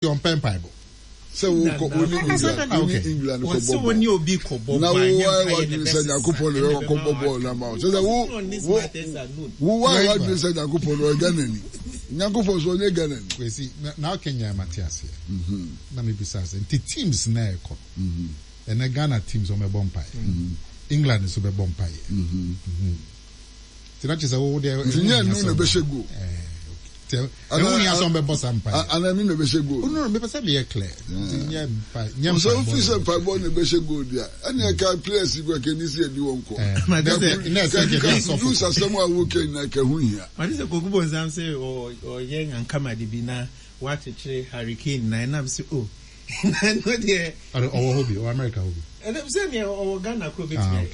Ɔmpɛ mpaebɔ. Sɛ wokɔ wo ne England wo ne England kɔ bɔ bɔɔl na wo ayɛ w'adwene sɛ Nyankopɔn na ɛbɛkɔ bɔ bɔɔl no ama wo kyerɛ sɛ wo wo wo ayɛ w'adwene sɛ Nyankopɔn no ɔyɛ Ghanani Nyankopɔn so ɔnyɛ Ghanani. Kwesi na na ɔka nyinaa mate aseɛ na mebisa sɛ nti teams na ɛkɔ no ɛnɛ Ghana teams wɔn bɛbɔ mpaeɛ England nso bɛbɔ mpaeɛ Nti na kyerɛ sɛ wo deɛ. Nti nyɛ ɛno na ɛbɛhyɛ goal. Ɛho hia sɛ ɔmbɛbɔ saa mpaeɛ. Ana ɛno na ɛbɛhyɛ goal. No, mepɛ sɛ meyɛ clear. Nti nyɛ mpa nyɛ mpaebɔ. Sɛ wofi sɛ mpaebɔ na ɛbɛhyɛ goal deɛ ɛne ɛka players yi kɔ ɛkɛni sɛ ɛdi wɔn kɔ. Na ɛsɛ kɛ de asɔfo. Kudus asɛm a woka nyinaa ka ho hia. Mate sɛ Koku Bonsam sɛ ɔyɛ nyankamade bi na wakyekyere Harry Kane nan na mese oh na ɛno deɛ. Ɔwɔ hɔ bi, ɔwɔ America hɔ bi. Ɛnam sɛ nea ɔwɔ Ghana koro bɛtumi ayɛ.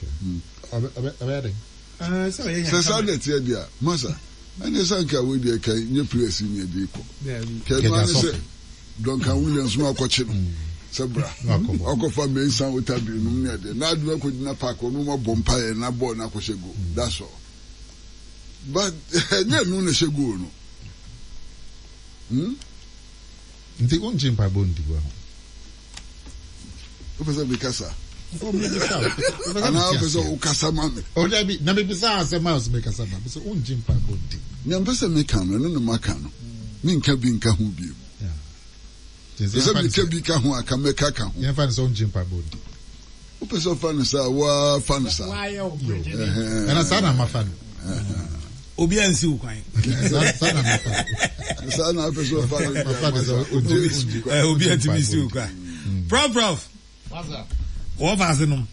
Ɔbɛyɛ dɛn? Sɛ saa na ɛteɛ deɛ a, masa, ɛnneɛ sɛ anka wei deɛ ka nyɛ players yi na ɛde rekɔ. Ka ɛno ara ne sɛ Duncan Williams no akɔkye no sɛ bra, wakɔfa Mensah Otabil nom ne adeɛ, na ade no akɔgyina park hɔ na wɔabɔ mpaeɛ na bɔɔl no akɔhyɛ goal. That's all. But ɛnyɛ ɛno na ɛhyɛ goal no. Hmm? Nti wongye mpaebɔ ndi wɔ ho? Wopɛ sɛ mekasa? Anaa wopɛ sɛ wokasa ma me? O dabi, na mebisa asɛm a sɛ mekasa ma me sɛ wongye mpaebɔ ndi. Nea mpɛ sɛ meka no, ɛno na maka no. Menka bi nka ho bio. Pɛ sɛ meka bi ka ho a, ka mɛka ka ho. Yɛmfa no sɛ wongye mpaebɔ ndi. Wopɛ sɛ ɔfa no saa, woa fa no saa. Ɛna saa na mafa no. Obi ansi wo kwan. Saa na mafa no. Saa na apɛ sɛ ɔfa no. Mafa no sɛ obi antumi nsi wo kwan. Prof prof. Wɔfa ase nom.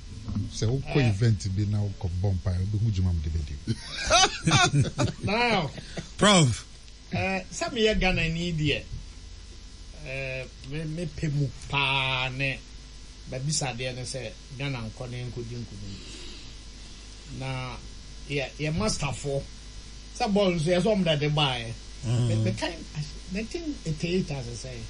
Sɛ wokɔ event bi na wokɔ bɔ mpae, wobɛhu dwuma mede bɛdi. Prof. Sɛ meyɛ Ghanani deɛ, me pɛ mu paa ne m'abisadeɛ ne sɛ Ghana nkɔ na yɛnkɔdi nkunim. Na yɛ yɛ masterfoɔ sɛ bɔɔl nso yɛ sɛ wɔn na ɛde baeɛ. Mekae 1988 ase sɛn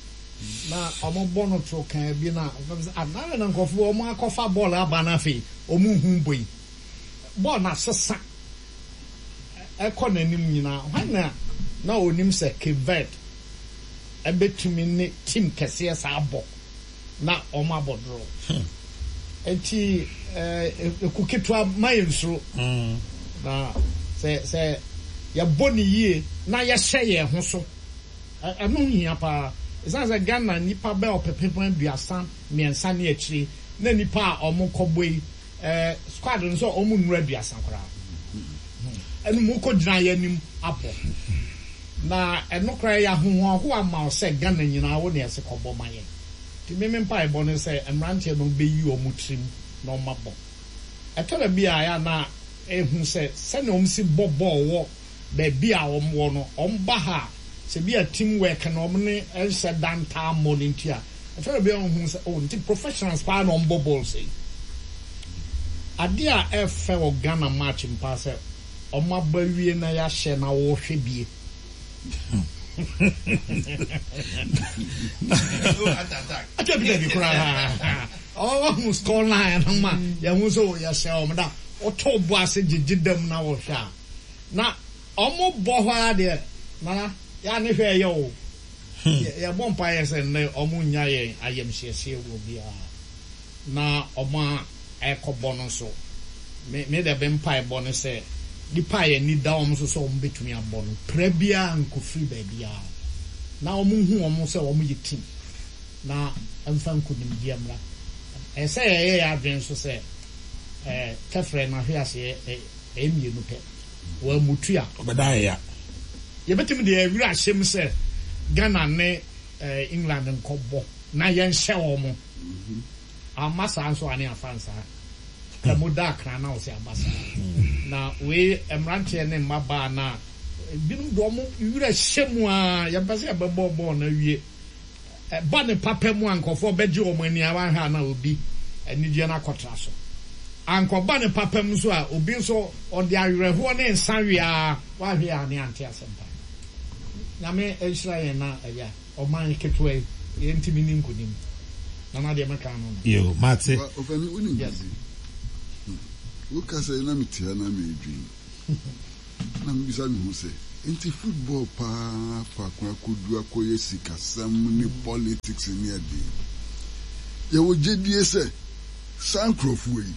na wɔn bɔ no to kan bi na ah na na nkurɔfoɔ wɔn akɔfa bɔɔl aba no afei wɔn nhu bɔ yi. Bɔɔl no asesa. Ɛkɔ n'anim nyinaa, hwan na na onim sɛ Cape Verde bɛtumi ne team kɛseɛ saa abɔ na wɔabɔ draw? Enti ɛku ketewa ma yɛnsuro. Na sɛ sɛ yɛbɔ no yie na yɛhyɛ yɛn ho so, ɛno hia paa. Ɛsiane sɛ Ghana nnipa bɛyɛ ɔpepem 33 ne akyire na nnipa a wɔkɔbɔ yi Eh squad no sɛ ɔmo nnuru aduasa koraa ɛno mo kɔ gyina yɛ anim abɔ na ɛno koraa ɛyɛ ahohoahoa ma wo sɛ Ghana nyinaa wo na ɛse kɔ bɔ ma yɛn nti me me mpaebɔ ne sɛ mmeranteɛ no bɛyi ɔmo tirim na ɔmo abɔ ɛtɔ da bi a ɛyɛ a na ɛhu sɛ sɛnea ɔmo si bɔ bɔɔl wɔ baabi a wɔn wɔ no, wɔn ba ha a, sɛ bi a team work no wɔn ne nhyɛ da ntaa mmɔ no nti a, ɛtɔ da bi a wɔn hu sɛ oh nti professionals paa na wɔn bɔ bɔɔl sei. Adeɛ a ɛfɛ wɔ Ghana match mu paa sɛ wɔn abɔ awie na yɛahyɛ na wɔrehwɛ bie. Dabi dabi koraa. Wɔn score line no ma yɛn ho sɛ yɛhyɛ wɔn da. Wɔto bo ase gyegye dam na wɔhwɛ a. Na ɔmo bɔ hɔ ara deɛ Nana yɛ a ne hwɛ ɛyɛ o. Yɛ bɔ mpaeɛ sɛ nnɛ ɔmo nnya yɛn ayamhyiehyie wɔ biara na ɔmo a ɛkɔ bɔ no nso me me deɛ me mpaebɔ ne sɛ nipa a yɛn ani da wɔn so sɛ ɔmo bɛtumi abɔ no pira biara nkɔ firi baabiara na ɔmo nhu wɔn sɛ ɔmo yɛ team na ɛmfa nkunimdie mmra. Ɛsɛ sɛ yɛyɛ yɛn adwene nso sɛ ɛɛ tɛfrɛ no ahweaseɛ Ɛyɛ mmienu pɛ. Wɔammutu a. Ɔbɛda ayɛ ya. Yɛbɛtumi de yɛn werɛ ahyɛ mu sɛ Ghana ne England nkɔbɔ na yɛnhyɛ wɔn. Amma saa nso a ne yɛafa nsaa. Ka mu da akra na wo sɛ aba saa. Na wei mmeranteɛ ne mmabaa no a binom de wɔn werɛ hyɛ mu ara, yɛmpɛ sɛ yɛbɛbɔ bɔɔl no awie. Ɛba no papa mu a, nkurɔfoɔ bɛgye wɔn ani a wanhwɛ a na obi anigyeɛ no akɔtra so. Ankɔba no papa mu nso a, obi nso ɔde awerɛhoɔ ne nsa we ara, wanhwɛ a ne ante asɛmpa. Nyame nhyira yɛn na ɛyɛ a ɔman ketewa yi yɛntumi nni nkonim. Nana deɛ mɛka ano no. Yoo, mate. Ɔfani, wonim Yes. biribi? Hmm. Wokasa yi na mete ha na meredwen. Na mebisa me ho sɛ. Nti football paa faako akodu akɔyɛ sikasɛm ne politics ne adeɛ yi. Yɛwɔ gyedie sɛ saa nkorɔfoɔ yi,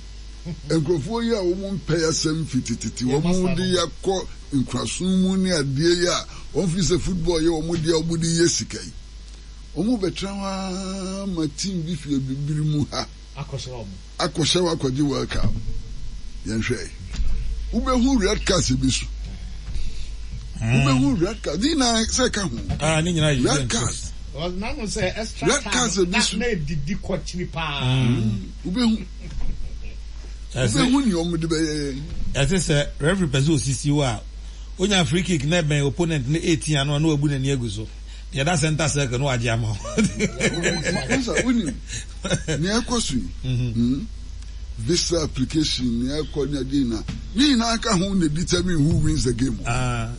nkorɔfoɔ yi a wɔn mpɛ asɛm fi tetete, wɔn de yɛ akɔ nkorasom mu ne adeɛ yi a wɔn fi sɛ football yɛ wɔn deɛ wɔn de yɛ sika yi. Wɔn bɛtena hɔ ara ma team bi fi abibiri mu ha. Akɔhyɛ hɔ akɔgye World Cup. Yɛnhwɛ. Wobɛhu red card sɛ bi so. Wobɛhu red card. Ne nyinaa sɛ ɛka ho. Ah, ne nyinaa yɛ red card. Red card sɛ bi so. Na edidi kɔkyiri paa. Wobɛhu. Wobɛhu nea wɔn de bɛyɛ yɛn. Ɛte sɛ referee pɛ sɛ osisi wo a, onya free kick na ɛbɛn opponent no 18 ano a na wabu n'ani agu so. Deɛ ɛda center circle no wagye ama wo. Masa wonim nea ɛkɔ so yi hmm? Visa application nea ɛkɔ ne adeɛ nyinaa ne nyinaa ka ho na determine who wins the game. Ah.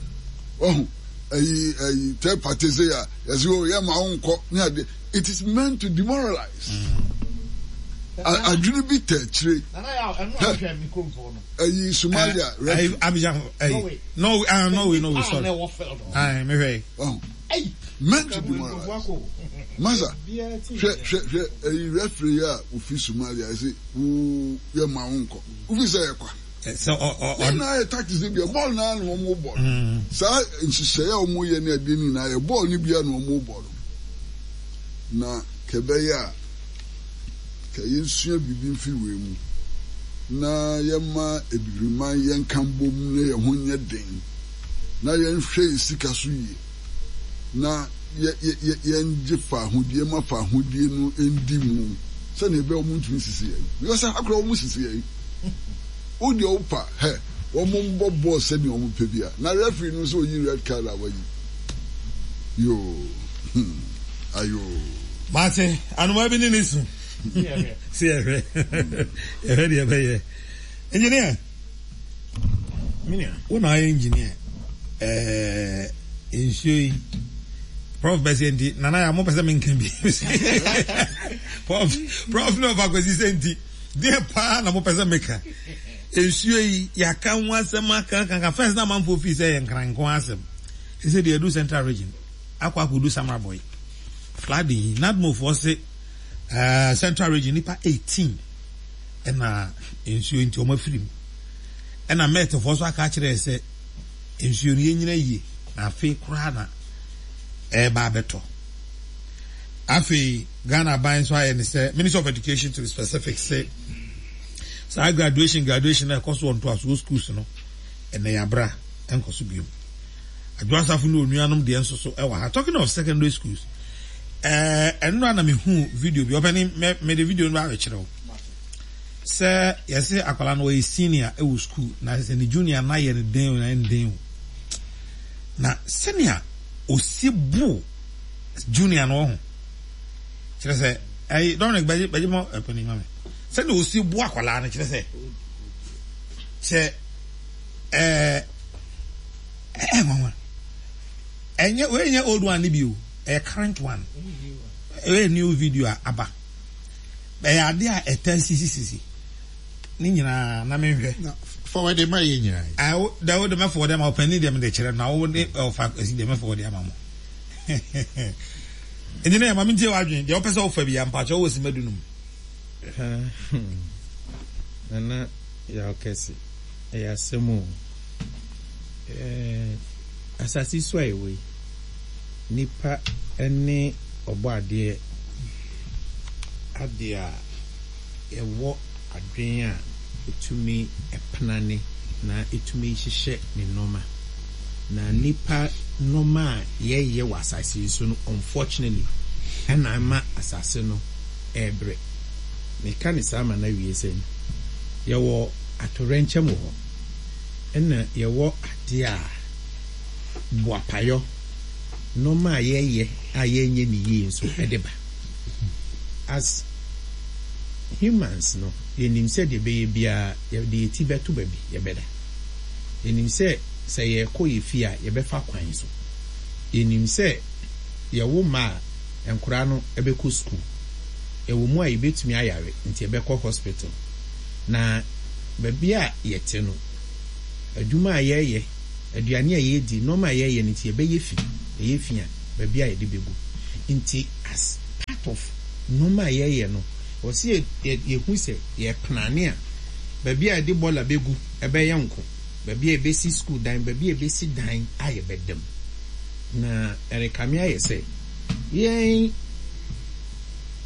Ɔho ɛyi ɛyi third party sɛ yɛ yɛsɛ o yɛ ma wo nkɔ ne adeɛ it is meant to demoralize. Adwene bi tɛ akyire. Ɛyi Somalia referee. Abidjan ɛyi Norway ah Norway Norway sorry. Ayi mehwɛ yi. Wahu? Meant to demoralize. Masa, hwɛ, hwɛ, hwɛ, ɛyi referee yi a ofi Somalia, ɛsɛ wo yɛ ma wo nkɔ. Wofi sɛ yɛ kwa. Sɛ ɔ ɔ ɔ. Ne nyinaa yɛ tactics ne bia, bɔɔl naa na wɔn bɔ no. Saa nhyehyɛe a wɔn yɛ ne adeɛ ne nyinaa yɛ bɔɔl ne bia na wɔn bɔ no. Na kɛbɛyɛ a, kɛ yɛnsua biribi mfiri wei mu na yɛma Abibiriman yɛnka mbom na yɛn ho nyɛ den. na yɛnhwɛ yɛn sika so yie, na yɛ, yɛ, yɛ, yɛngye faahodie ma faahodie no ndi mu sɛdeɛ ɛbɛyɛ wɔn ntumi nsisi yɛn. Because ha koraa wɔn sisi yɛn. Wo deɛ wopa, hɛ, wɔn mbɔ bɔɔl sɛdeɛ wɔn pɛ bia. Na referee no nso oyi red card a wayi. Yoo, hmm, ayoo. Mate, anomaa bi ne ne su. Se yɛhwɛ, yɛhwɛ deɛ ɛbɛyɛ. Engineer. Menua. Wo na ayɛ engineer. Ɛɛ nsuo yi. Prof bɛsɛ nti nana ya mo pɛ sɛ menka bi. Prof prof ne ɔfa kwasi sɛ nti deɛ paa na mo pɛ sɛ meka. Nsuo yi yɛaka ho asɛm aka aka aka first na amanfoɔ fii sɛ yɛ nkran nko asɛm. Ɛsɛ deɛ ɛdu central region akɔ akɔdu Samrabɔi. Flooding yi NADMOfoɔ se uh, central region nipa 18 ɛna nsuo nti wɔn afiri mu. Ɛna Mɛtfoɔ nso aka akyerɛ yɛ sɛ nsuo no yɛnyina yie na afei koraa na ɛreba abɛtɔ. Afei Ghana aban nso ayɛ ne sɛ Ministry of Education to be specific sɛ saa graduation graduation na ɛkɔ so wɔ ntoasoɔ schools no ɛnɛ yɛabra ɛnkɔ so biom. Adwo Asafo ne onuanom deɛ nso so ɛwɔ ha. Talking of secondary schools, ɛɛ ɛnora na mehu video bi ɔpɛni mɛ mede video no ba abɛkyerɛ wo. Sɛ yɛse akwadaa no ɔyɛ senior wɔ school na sɛ ne junior no ayɛ no den o na ayɛ no den o na sɛnea osi bo junior no wɔ ho kyerɛ sɛ ɛyi Dominic bɛgye bɛgye ma ɛpɛni ma mi sɛnea osi bo akwadaa no kyerɛ sɛ kyɛ ɛɛ ɛɛ nwanwa ɛnyɛ wei nyɛ old one ne bi o ɛyɛ current one ɛyɛ new video a aba. Ɛyɛ ade a ɛtaa sisisisi. Ne nyinaa na menhwɛ. Na forward ma yɛ nyinaa yi. Ah, wo da wo de mɛ forward ama ɔpanin deɛ mede kyerɛ na wo de ɔfa ɛsi deɛ mɛ forward ama mo. Nti na ma mentie w'adwene deɛ wopɛ sɛ wofa bi a mpakyɛ wowɔ sima dunum. Nana Yaw Kɛse, ɛyɛ asɛm o. Eh, asase so a yɛwɔ yi, nipa ne Ɔbɔadeɛ ade a ɛwɔ adwene a ɛtumi penane na ɛtumi hyehyɛ ne nnoɔma. Na nnipa nnoɔma a yɛyɛ wɔ asase yi so no unfortunately ɛna ama asase no ɛrebrɛ. Meka no saa ma no awie sɛ yɛwɔ atoyerɛnkyɛm wɔ hɔ ɛna yɛwɔ adeɛ a boapayɔ nnoɔma a yɛyɛ a yɛnyɛ no yie nso de ba. As humans no, yɛnim sɛ deɛ ɛbɛyɛ biara yɛde yɛn ti bɛto baabi, yɛbɛda. Yɛnim sɛ sɛ yɛrekɔ yɛn fie a, yɛbɛfa kwan so. Yɛnim sɛ yɛwo mma a, nkwadaa no bɛkɔ sukuu. Ɛwɔ mu a yɛbɛtumi ayare nti yɛbɛkɔ hospital. Na baabi a yɛte no, adwuma a yɛyɛ. Aduane a yɛredi, nnoɔma a yɛreyɛ no nti yɛbɛyɛ fi. Ɛyɛ fi a, baabi a yɛde bɛgu. Nti as part of nnoɔma a yɛreyɛ no, ɛwɔ sɛ yɛhu sɛ yɛreplane a, baabi a yɛde bɔɔla bɛgu ɛbɛyɛ nko, baabi a yɛbɛsi sukuu dan, baabi a yɛbɛsi dan a yɛbɛda mu. Na ɛrekame ayɛ sɛ yɛn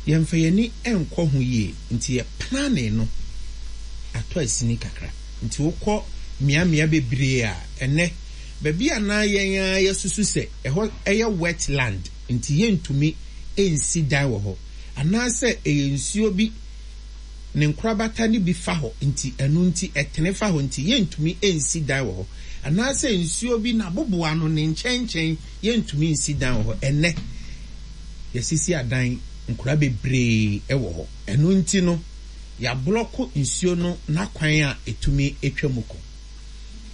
yɛmfa yɛn ani nkɔ ho yie nti yɛ planning no atɔ asini kakra. Nti wokɔ mmeammea bebree a, ɛnnɛ, baabi a na yɛn ara yɛasusu sɛ ɛhɔ yɛ wet land nti yɛntumi nsi dan wɔ hɔ, anaasɛ ɛyɛ nsuo bi ne nkorabata no bi fa hɔ nti ɛno nti ɛtene fa hɔ nti yɛntumi nsi dan wɔ hɔ, anaasɛ nsuo bi n'aboboano ne nkyɛnkyɛn yɛntumi nsi dan wɔ hɔ. Ɛnnɛ, yɛasisi adan nkora bebree wɔ hɔ. Ɛno nti no, yɛablɔko nsuo no n'akwan a ɛtumi twa mu kɔ.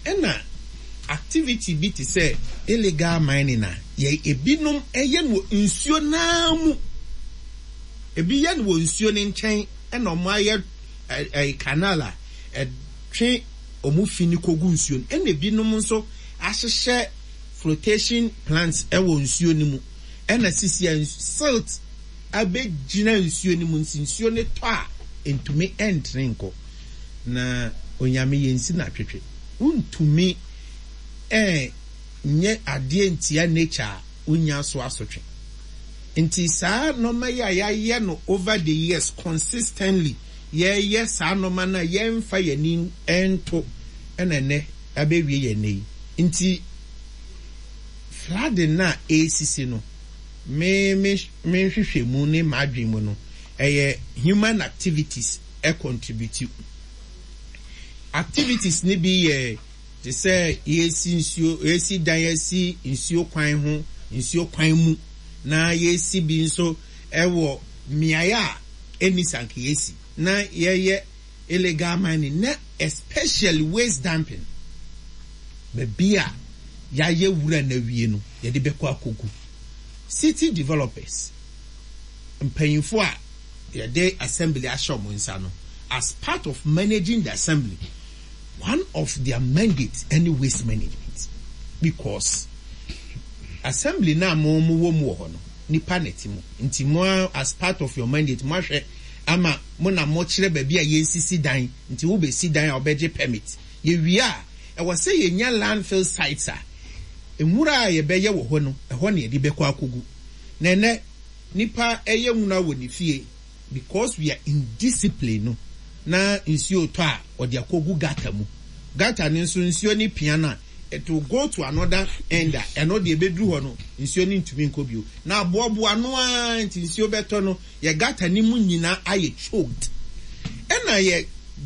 Ɛna activity bi te sɛ illegal mining a yɛ ebinom yɛ no wɔ nsuo no ara mu. Ebi yɛ no wɔ nsuo no nkyɛn ɛna wɔn ayɛ ɛɛ canal a ɛtwe wɔn fi no kɔgu nsuo no. Ɛna ebinom nso ahyehyɛ flotation plants wɔ nsuo no mu. Ɛna sisi a silt abɛgyina nsuo no mu nti nsuo no tɔ a ɛntumi ɛntene nkɔ. Na Onyame yɛnsi no atwetwe. Wontumi nyɛ adeɛ ntia nature a wonnya so asotwe. Nti saa nnoɔma yi a yɛayɛ no over the years consistently yɛyɛ saa nnoɔma no a yɛmfa yɛn ani nto ɛna ɛnɛ abɛwie yɛn nnɛ yi. Nti flooding no a ɛresisi no me me me nhwehwɛmu ne m'adwene mu no ɛyɛ human activities contribute. Activities no bi yɛ te sɛ yɛresi nsuo, yɛresi dan asi nsuo kwan ho, nsuo kwan mu, na yɛresi bi nso wɔ mmeaeɛ a ɛnni sɛ anka yɛsi, na yɛyɛ illegal mining, na especially waste dumping, baabi a yɛayɛ wura no awie no, yɛde bɛkɔ akɔgu. City developers, mpanyinfoɔ a yɛde assembly ahyɛ wɔn nsa no, as part of managing the assembly, one of their mandate ɛne waste management because assembly no a mo mo wɔ mu wɔ hɔ no, nipa na ɛte mu, nti mo as part of your mandate mo ahwɛ ama mo na mo kyerɛ baabi a yɛnsisi dan, nti wo bɛsi dan a wobɛgye permit, yɛwie a ɛwɔ sɛ yɛnya landfill sites a nwura a yɛbɛyɛ wɔ hɔ no ɛhɔ na yɛde bɛkɔ akɔgu, na ɛnɛ Nipa yɛ nwura wɔ ne fie because we are indiscipline no na nsuo retɔ a ɔde akɔgu gutter mu. Gutter no nso nsuo no pia no a it will go to another end a ɛno deɛ ɛbɛduru hɔ no nsuo no ntumi nkɔ bio. Na aboaboa ano ara nti nsuo bɛtɔ no yɛ gutter no mu nyinaa ayɛ choked. Ɛna yɛ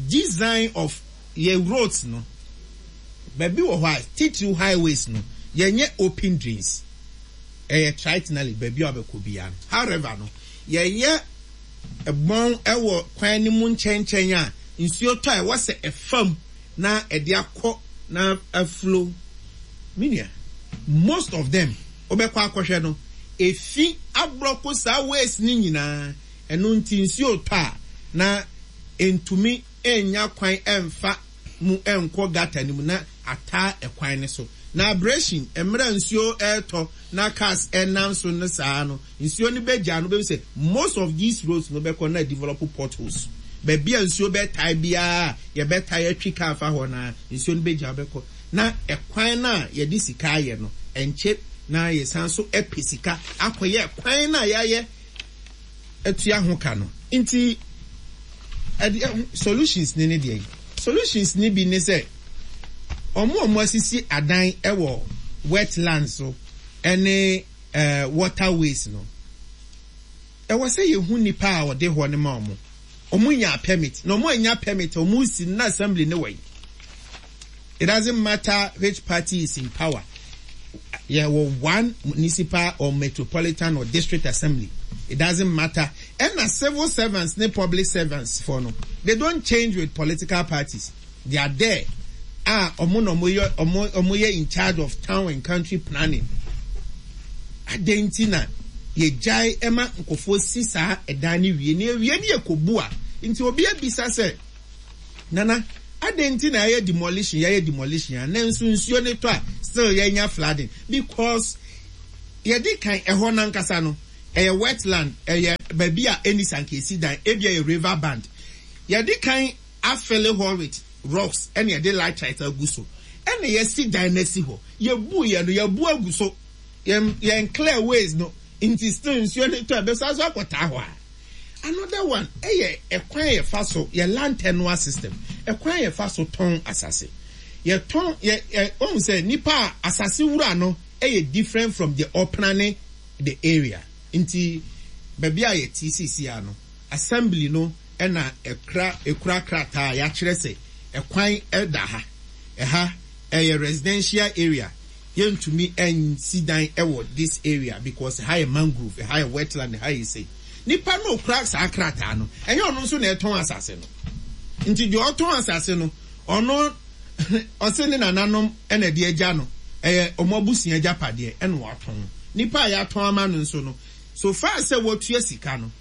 design of yɛ roads no baabi wɔ hɔ a titiriw highways no yɛnyɛ open drains. Ɛyɛ tritonally baabi a wobɛkɔ biara no. However no, yɛyɛ bɔn wɔ kwan no mu nkyɛnkyɛn a nsuo tɔ a ɛwɔ sɛ ɛfa mu na ɛde akɔ na aflow. Me nua, most of them wobɛkɔ akɔhwɛ no, efi ablɔko saa ways no nyinaa. Ɛno nti nsuo tɔ a na ɛntumi nnya kwan mfa mu nkɔ gutter no mu na ataa ɛkwan no so. Na abrasion, mmerɛ a nsuo retɔ na cars nam so no saa no, nsuo no bɛgyaa no, wobɛhu sɛ most of these roads no bɛkɔ na develop potholes. Baabi a nsuo bɛtae biara a yɛbɛtae atwi car fa hɔ no ara, nsuo no bɛgyaa bɛkɔ. Na ɛkwan no a yɛde sika ayɛ no, ɛnkyɛ na yɛsan nso pɛ sika akɔyɛ kwan no a yɛayɛ atua ho ka no nti ɛdeɛ solutions ne ne deɛ yi solutions ne bi ne sɛ wɔn a wɔn asisi adan wɔ wetland so ɛne ɛɛ waterways no ɛwɔ sɛ yɛhu nipa a ɔde hɔ no ma wɔn wɔn nya permit na wɔn anya permit wɔn si na assembly ne wɔ yi. It doesn't matter which party is in power. Yɛwɔ one municipal or metropolitan or district assembly. It doesn't matter. Ɛna civil servants ne public servants for no, they don't change with political parties. They are there. A ɔmo na ɔmo yɛ ɔmo ɔmo yɛ in charge of town and country planning. Adɛn nti na yɛgyae ɛma nkurɔfoɔ si saa ɛdan no wie na ewie ne yɛkɔbu a nti obi abisa sɛ Nana. Adɛn nti na yɛayɛ demolition, yɛayɛ demolition a nanso nsuo no tɔ a still yɛnya flooding? Because yɛdi kan ɛhɔ no ankasa no ɛyɛ wetland, ɛyɛ baabi a ɛnni sɛ anka yɛsi dan, ebia ɛyɛ river band. Yɛdi kan afele hɔ with rocks ɛna yɛde laterite agu so ɛna yɛasi dan no asi hɔ. Yɛbuiɛ no, yɛabu agu so. Yɛn yɛn clear ways no nti still nsuo no tɔ a ɛbɛsan so akɔtaa hɔ a. Another one ɛyɛ ɛkwan a yɛfa so yɛ land tenure system ɛkwan a yɛfa so tɔn asase. Yɛtɔn yɛ yɛ wɔn sɛ nipa a asase wura no ɛyɛ different from deɛ ɔplane the area nti baabi a yɛte seesei ara no assembly no ɛna ɛkura ɛkura krataa a yɛakyerɛ sɛ ɛkwan ɛda ha ɛha ɛyɛ residential area yɛntumi nsi dan wɔ this area because ɛha yɛ mangrove, ɛha yɛ wetland, ɛha yɛ sei. Nipa no okura saa krataa no, ɛnyɛ ɔno nso na ɛtɔn asase no. Nti deɛ ɔtɔn asase no, ɔno ɔse ne nananom na ɛde agya no, ɛyɛ wɔn abusua agyapadeɛ ɛna watɔn. Nipa a yɛatɔn ama no nso no, so far sɛ watua sika no,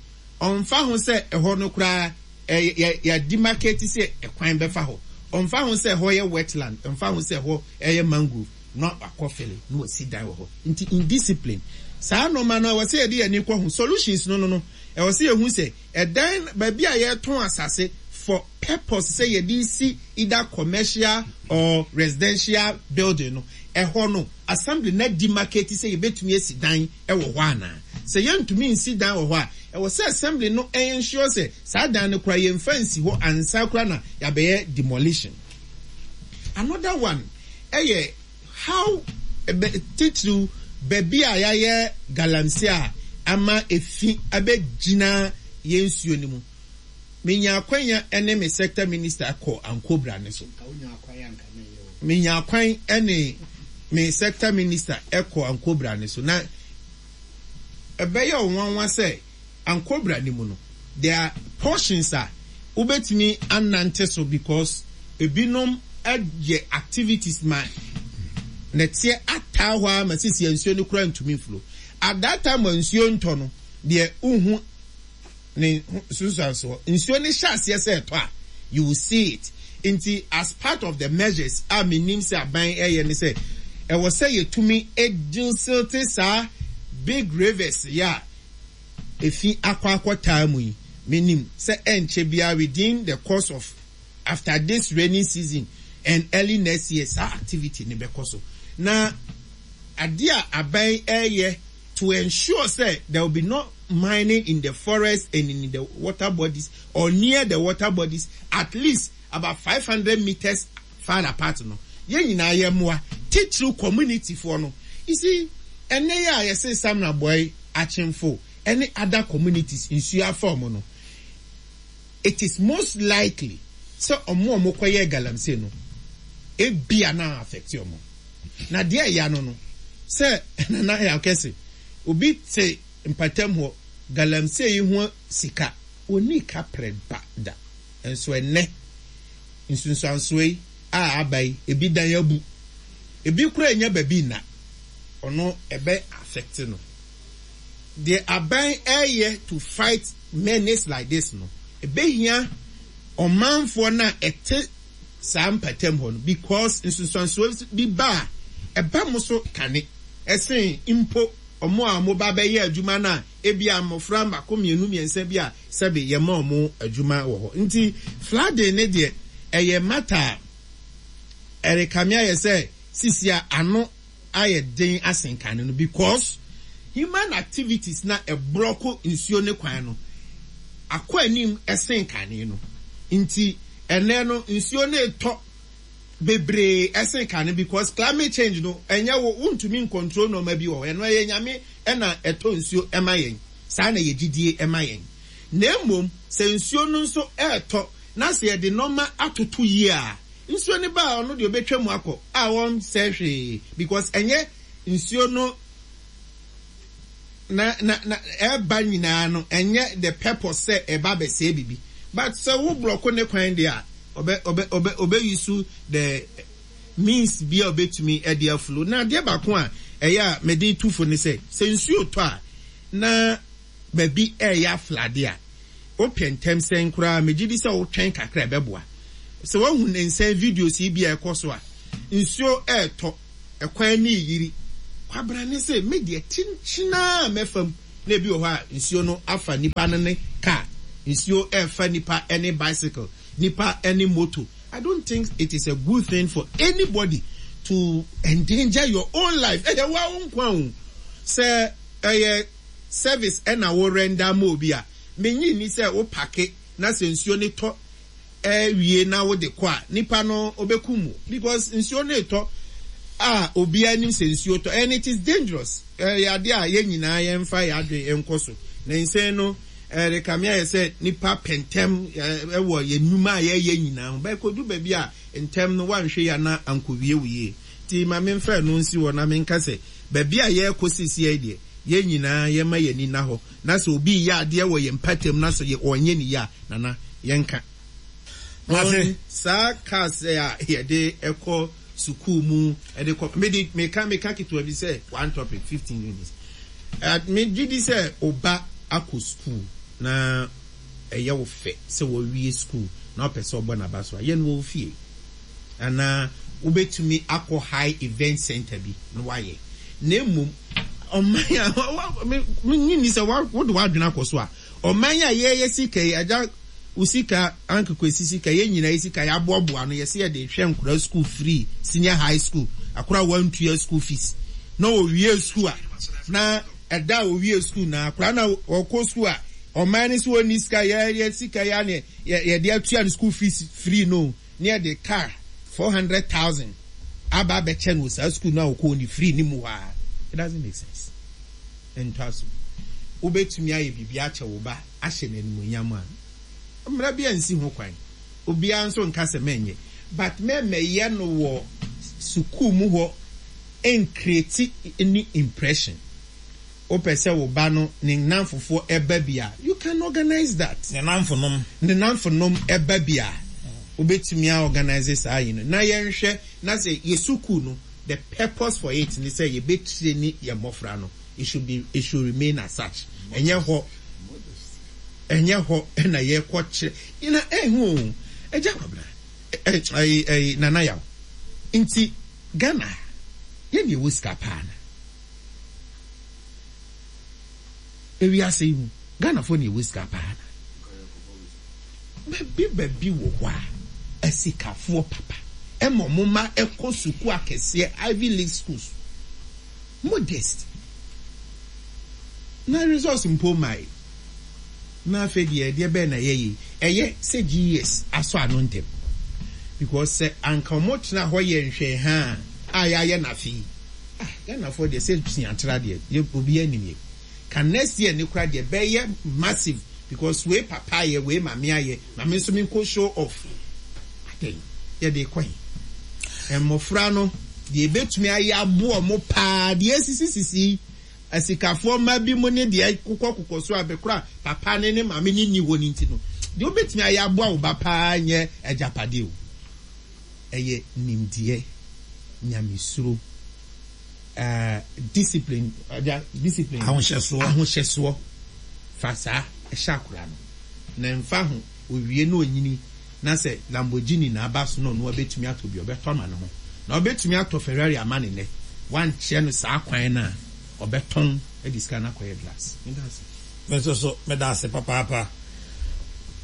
ɔmfa ho sɛ ɛhɔ no koraa Ɛ yɛ yɛ demarcate sɛ ɛkwan bɛfa hɔ. Ɔmfa ho sɛ ɛhɔ yɛ wetland, ɛmfa ho sɛ ɛhɔ yɛ mangrove, na wakɔ fele na wasi dan wɔ hɔ. Nti indiscipline. Saa nnoɔma no ɛwɔ sɛ yɛde yɛn ani kɔ ho. Solutions no no no, ɛwɔ sɛ yɛhu sɛ ɛdan, baabi a yɛretɔn asase for purpose sɛ yɛde resi either commercial or residential building no, ɛhɔ no assembly no ademarcate sɛ yɛbɛtumi asi dan wɔ hɔ anaa. Sɛ yɛntumi nsi dan wɔ hɔ a, ɛwɔ sɛ assembly no ensure sɛ saa dan no koraa yɛmfa nsi hɔ ansa koraa na yɛabɛyɛ demolition. Another one yɛ how titiriw baabi a yɛayɛ galamsey a ama efi abɛgyina yɛn nsuo no mu. Menya akwanya ne me sector minister kɔ Ankobra no so. Menya kwan ne me sector minister kɔ Ankobra no so na ɛbɛyɛ wo nwanwa sɛ Ankobra no mu no there are portions a wobɛtumi anante so because ebinom yɛ activities ma nɛteɛ ataa hɔ ara ma sisi nsuo no koraa ntumi mflow. At that time a nsuo ntɔ no deɛ wohu ne nsunsuansoɔ. Nsuo no hyɛ aseɛ sɛ ɛtɔ a, you will see it. Nti as part of the measures a menim sɛ aban ɛyɛ ne sɛ, ɛwɔ sɛ yɛtumi desilte saa big rivers yi a efi akɔ akɔtaa mu yi. Menim sɛ ɛnkyɛ biara within the course of after this rainy season and early next year saa activity no bɛkɔ so. Na adeɛ a aban ɛyɛ to ensure sɛ there will be no mining in the forest and in the water bodies or near the water bodies at least about 500 meters far apart no, yɛn nyinaa yɛ mmoa, titiriw community foɔ no. You see, ɛnnɛ yi a yɛse Samina Boy, Akyemfo ɛne other communities nsuo afa wɔn no, it is most likely sɛ wɔn a wɔkɔyɛɛ galamsey no, ebia na affect wɔn. Na deɛ ɛya no no, sɛ Nana Yaw Kɛse, obi te mpatam hɔ, galamsey yi ho sika, ɔnnii kaprɛ ba da. Nso ɛnnɛ, nsunsuansoɔ yi a aba yi, ebi dan abu, ebi koraa nnya baabi nna, ɔno ɛbɛ affect no. Deɛ aban ɛreyɛ to fight menace like this no, ɛbɛhia ɔmanfoɔ no a ɛte saa mpatam hɔ no because nsunsuansoɔ bi ba a, ɛba mo so kane ɛsen mpo wɔn a wɔba bɛyɛ adwuma no a ebia mmɔfra mmaako mmienu mmiɛnsa bi a sɛbe yɛma wɔn adwuma wɔ hɔ. Nti flooding no deɛ ɛyɛ matter a ɛrekame ayɛ sɛ sisi a ano ayɛ den asen kane no because human activities na ɛbrɔko nsuo ne kwan no akɔ anim sen kane no nti ɛnɛ no nsuo no retɔ bebree ɛsen kane because climate change no ɛnyɛ wo wontumi ncontrol nneɛma bi wɔ hɔ ɛno ɛyɛ Nyame ɛna ɛtɔ nsuo ɛma yɛn saa na yɛ gyidie ɛma yɛn na mmom sɛ nsuo no nso ɛretɔ na sɛ yɛde nneɛma atoto yie a Nsuo no ba a ɔno deɛ ɔbɛtwa mu akɔ a ɔnsɛe hwee because ɛnyɛ nsuo no na na na ɛba nyinaa no ɛnyɛ the purpose sɛ ɛba abɛsɛe biribi but sɛ wo blɔko ne kwan deɛ a ɔbɛ ɔbɛ ɔbɛ ɔbɛ use the means bi a ɔbɛtumi ɛde afulo na adeɛ baako a ɛyɛ a mede tu fo ne sɛ sɛ nsuo tɔ a na baabi ɛreyɛ aflade a, wopɛ ntɛm sɛn koraa a, megye di sɛ wotwɛn kakra a ɛbɛboa. Sɛ woahu ne nsɛn videos yi bi a ɛkɔ so a, nsuo ɛretɔ, ɛkwan no reyiri. Kwabrane se, me deɛ kyenkyen ara mɛfa mu. Na ebi wɔ hɔ a nsuo no afa nipa no ne car, nsuo ɛrefa nipa ne bicycle, nipa ne moto. I don't think it is a good thing for anybody to endanger your own life. Ɛyɛ wo ara wo nkwa o. Sɛ ɛyɛ service ɛna wo render ma obi a, mennye nni sɛ wo pake na sɛ nsuo no tɔ wie na wode kɔ a, nipa no ɔbɛkum wo because nsuo no retɔ a obiara nim sɛ nsuo tɔ and it is dangerous. Ɛyɛ adeɛ a yɛn nyinaa yɛmfa yɛn adwene nkɔ so. Na nsɛn no ɛrekame ayɛ sɛ nipa pɛ ntɛm wɔ yɛn nnwuma a yɛyɛ nyinaa ho. But ɛkɔdu baabi a ntɛm no woanhwɛ yie a na ankɔwie wo yie. Nti ma memfa ɛno nsi hɔ na menka sɛ baabi a yɛrekɔ seesei yi deɛ, yɛn nyinaa yɛmma yɛn ani nna hɔ na sɛ obi reyɛ adeɛ wɔ yɛn mpɔtam na sɛ ɔnyɛ no yie a, Nana, yɛnka. Mate. On saa cars a yɛde kɔ sukuu mu de kɔ, mede meka meka ketewa bi sɛ one topic, 15 minutes. Me gye di sɛ wo ba akɔ sukuu na ɛyɛ wo fɛ sɛ wawie sukuu na wopɛ sɛ ɔbɔ n'aba so a, yɛ no wɔ wo fie. Anaa wobɛtumi akɔ high event center bi na woayɛ. Na mmom, ɔman a, mennye nni sɛ wode w'adwene akɔ so a, ɔman a yɛyɛ sika yi, agya wo sika, Uncle Kwesi sika, yɛn nyinaa yɛ sika, yɛaboaboa ano, yɛse yɛde rehwɛ nkwadaa sukuu free, senior high school, akwadaa a wantua school fees, na ɔwie sukuu a, na ɛda a ɔwie sukuu na akwadaa na ɔkɔ sukuu a, ɔman no sɛ ɔnni sika, yɛyɛ sika yi a na yɛde atua no school fees free no. na yɛde car 400,000 aba abɛkyɛ no wɔ saa school no a ɔkɔɔ ne free no mu hɔ ara. It doesn't make sense. Ɛntɔ asom. Wobɛtumi ayɛ biribi akyɛ wo ba ahyɛ no animuonyam a, mmara biara nsi ho kwan. Obiara nso nka sɛ mɛnyɛ. But mɛmmɛyɛ no wɔ sukuu mu hɔ ɛncreate any impression. Wopɛ sɛ wo ba no ne nnamfofoɔ ba bi a, you can organise that. Ne nnamfonom. Ne nnamfonom ba bi a, wobɛtumi a organise saa ayi no. Na yɛnhwɛ na sɛ yɛ sukuu no, the purpose for it ne sɛ yɛbɛ traini yɛn mmɔfra no, it should be, it should remain as such. Ɛnyɛ hɔ, ɛnyɛ hɔ na yɛkɔ kyerɛ, na ɛho o, Agya Kwabena, ɛyi, ɛyi, Nana Yaw, nti Ghana ha, yɛn na yɛwɔ sika paa na. Ewiase yi mu, Ghanafoɔ na yɛwɔ sika paa na. Baabi baabi wɔ hɔ a, asikafoɔ papa ɛma wɔn mma ɛkɔ sukuu akɛseɛ, Ivy League schools. Modest. Na results mpo mmae. Na afei deɛ ɛdeɛ bɛn na ɛyɛ yei? Ɛyɛ sɛ GES asɔ ano ntɛm. Because sɛ anka wɔtena hɔ yɛ nhwɛhaa a yɛayɛ no afe yi, Ah Ghanafoɔ deɛ sɛ suatra deɛ yɛ obiara nim yɛ ka next year ne kora deɛ bɛyɛ massive because wei papa ayɛ wei maame ayɛ ma me nso me nkɔ show off adɛn yɛde kɔ he mmɔfra no deɛ ebetumi ayɛ aboɔ mo paa deɛ esisi sisi asikafoɔ mma bi mu ne deɛ kokɔ kokɔ so a bɛkora papa ne ne maame ne nni hɔ ne nti no deɛ obetumi ayɛ aboa wo ba paa nyɛ agyapadeɛ o. Ɛyɛ nimdeɛ, nyamesuro, eh, discipline, agya, discipline. Ahohyɛsoɔ. Ahohyɛsoɔ. Fa saa hyɛ akwadaa no. Na ɛmfa ho, ɔwie na ɔnyini na sɛ Lamborghini na aba so na ɔno abɛtumi atɔ bi a, ɔbɛtɔ ama ne ho. Na ɔbɛtumi atɔ Ferrari ama no nnɛ. Woankyerɛ no saa kwan no a, ɔbɛtɔn de sika no akɔyɛ drugs. Meda ase. Me nso so, meda ase papaapa.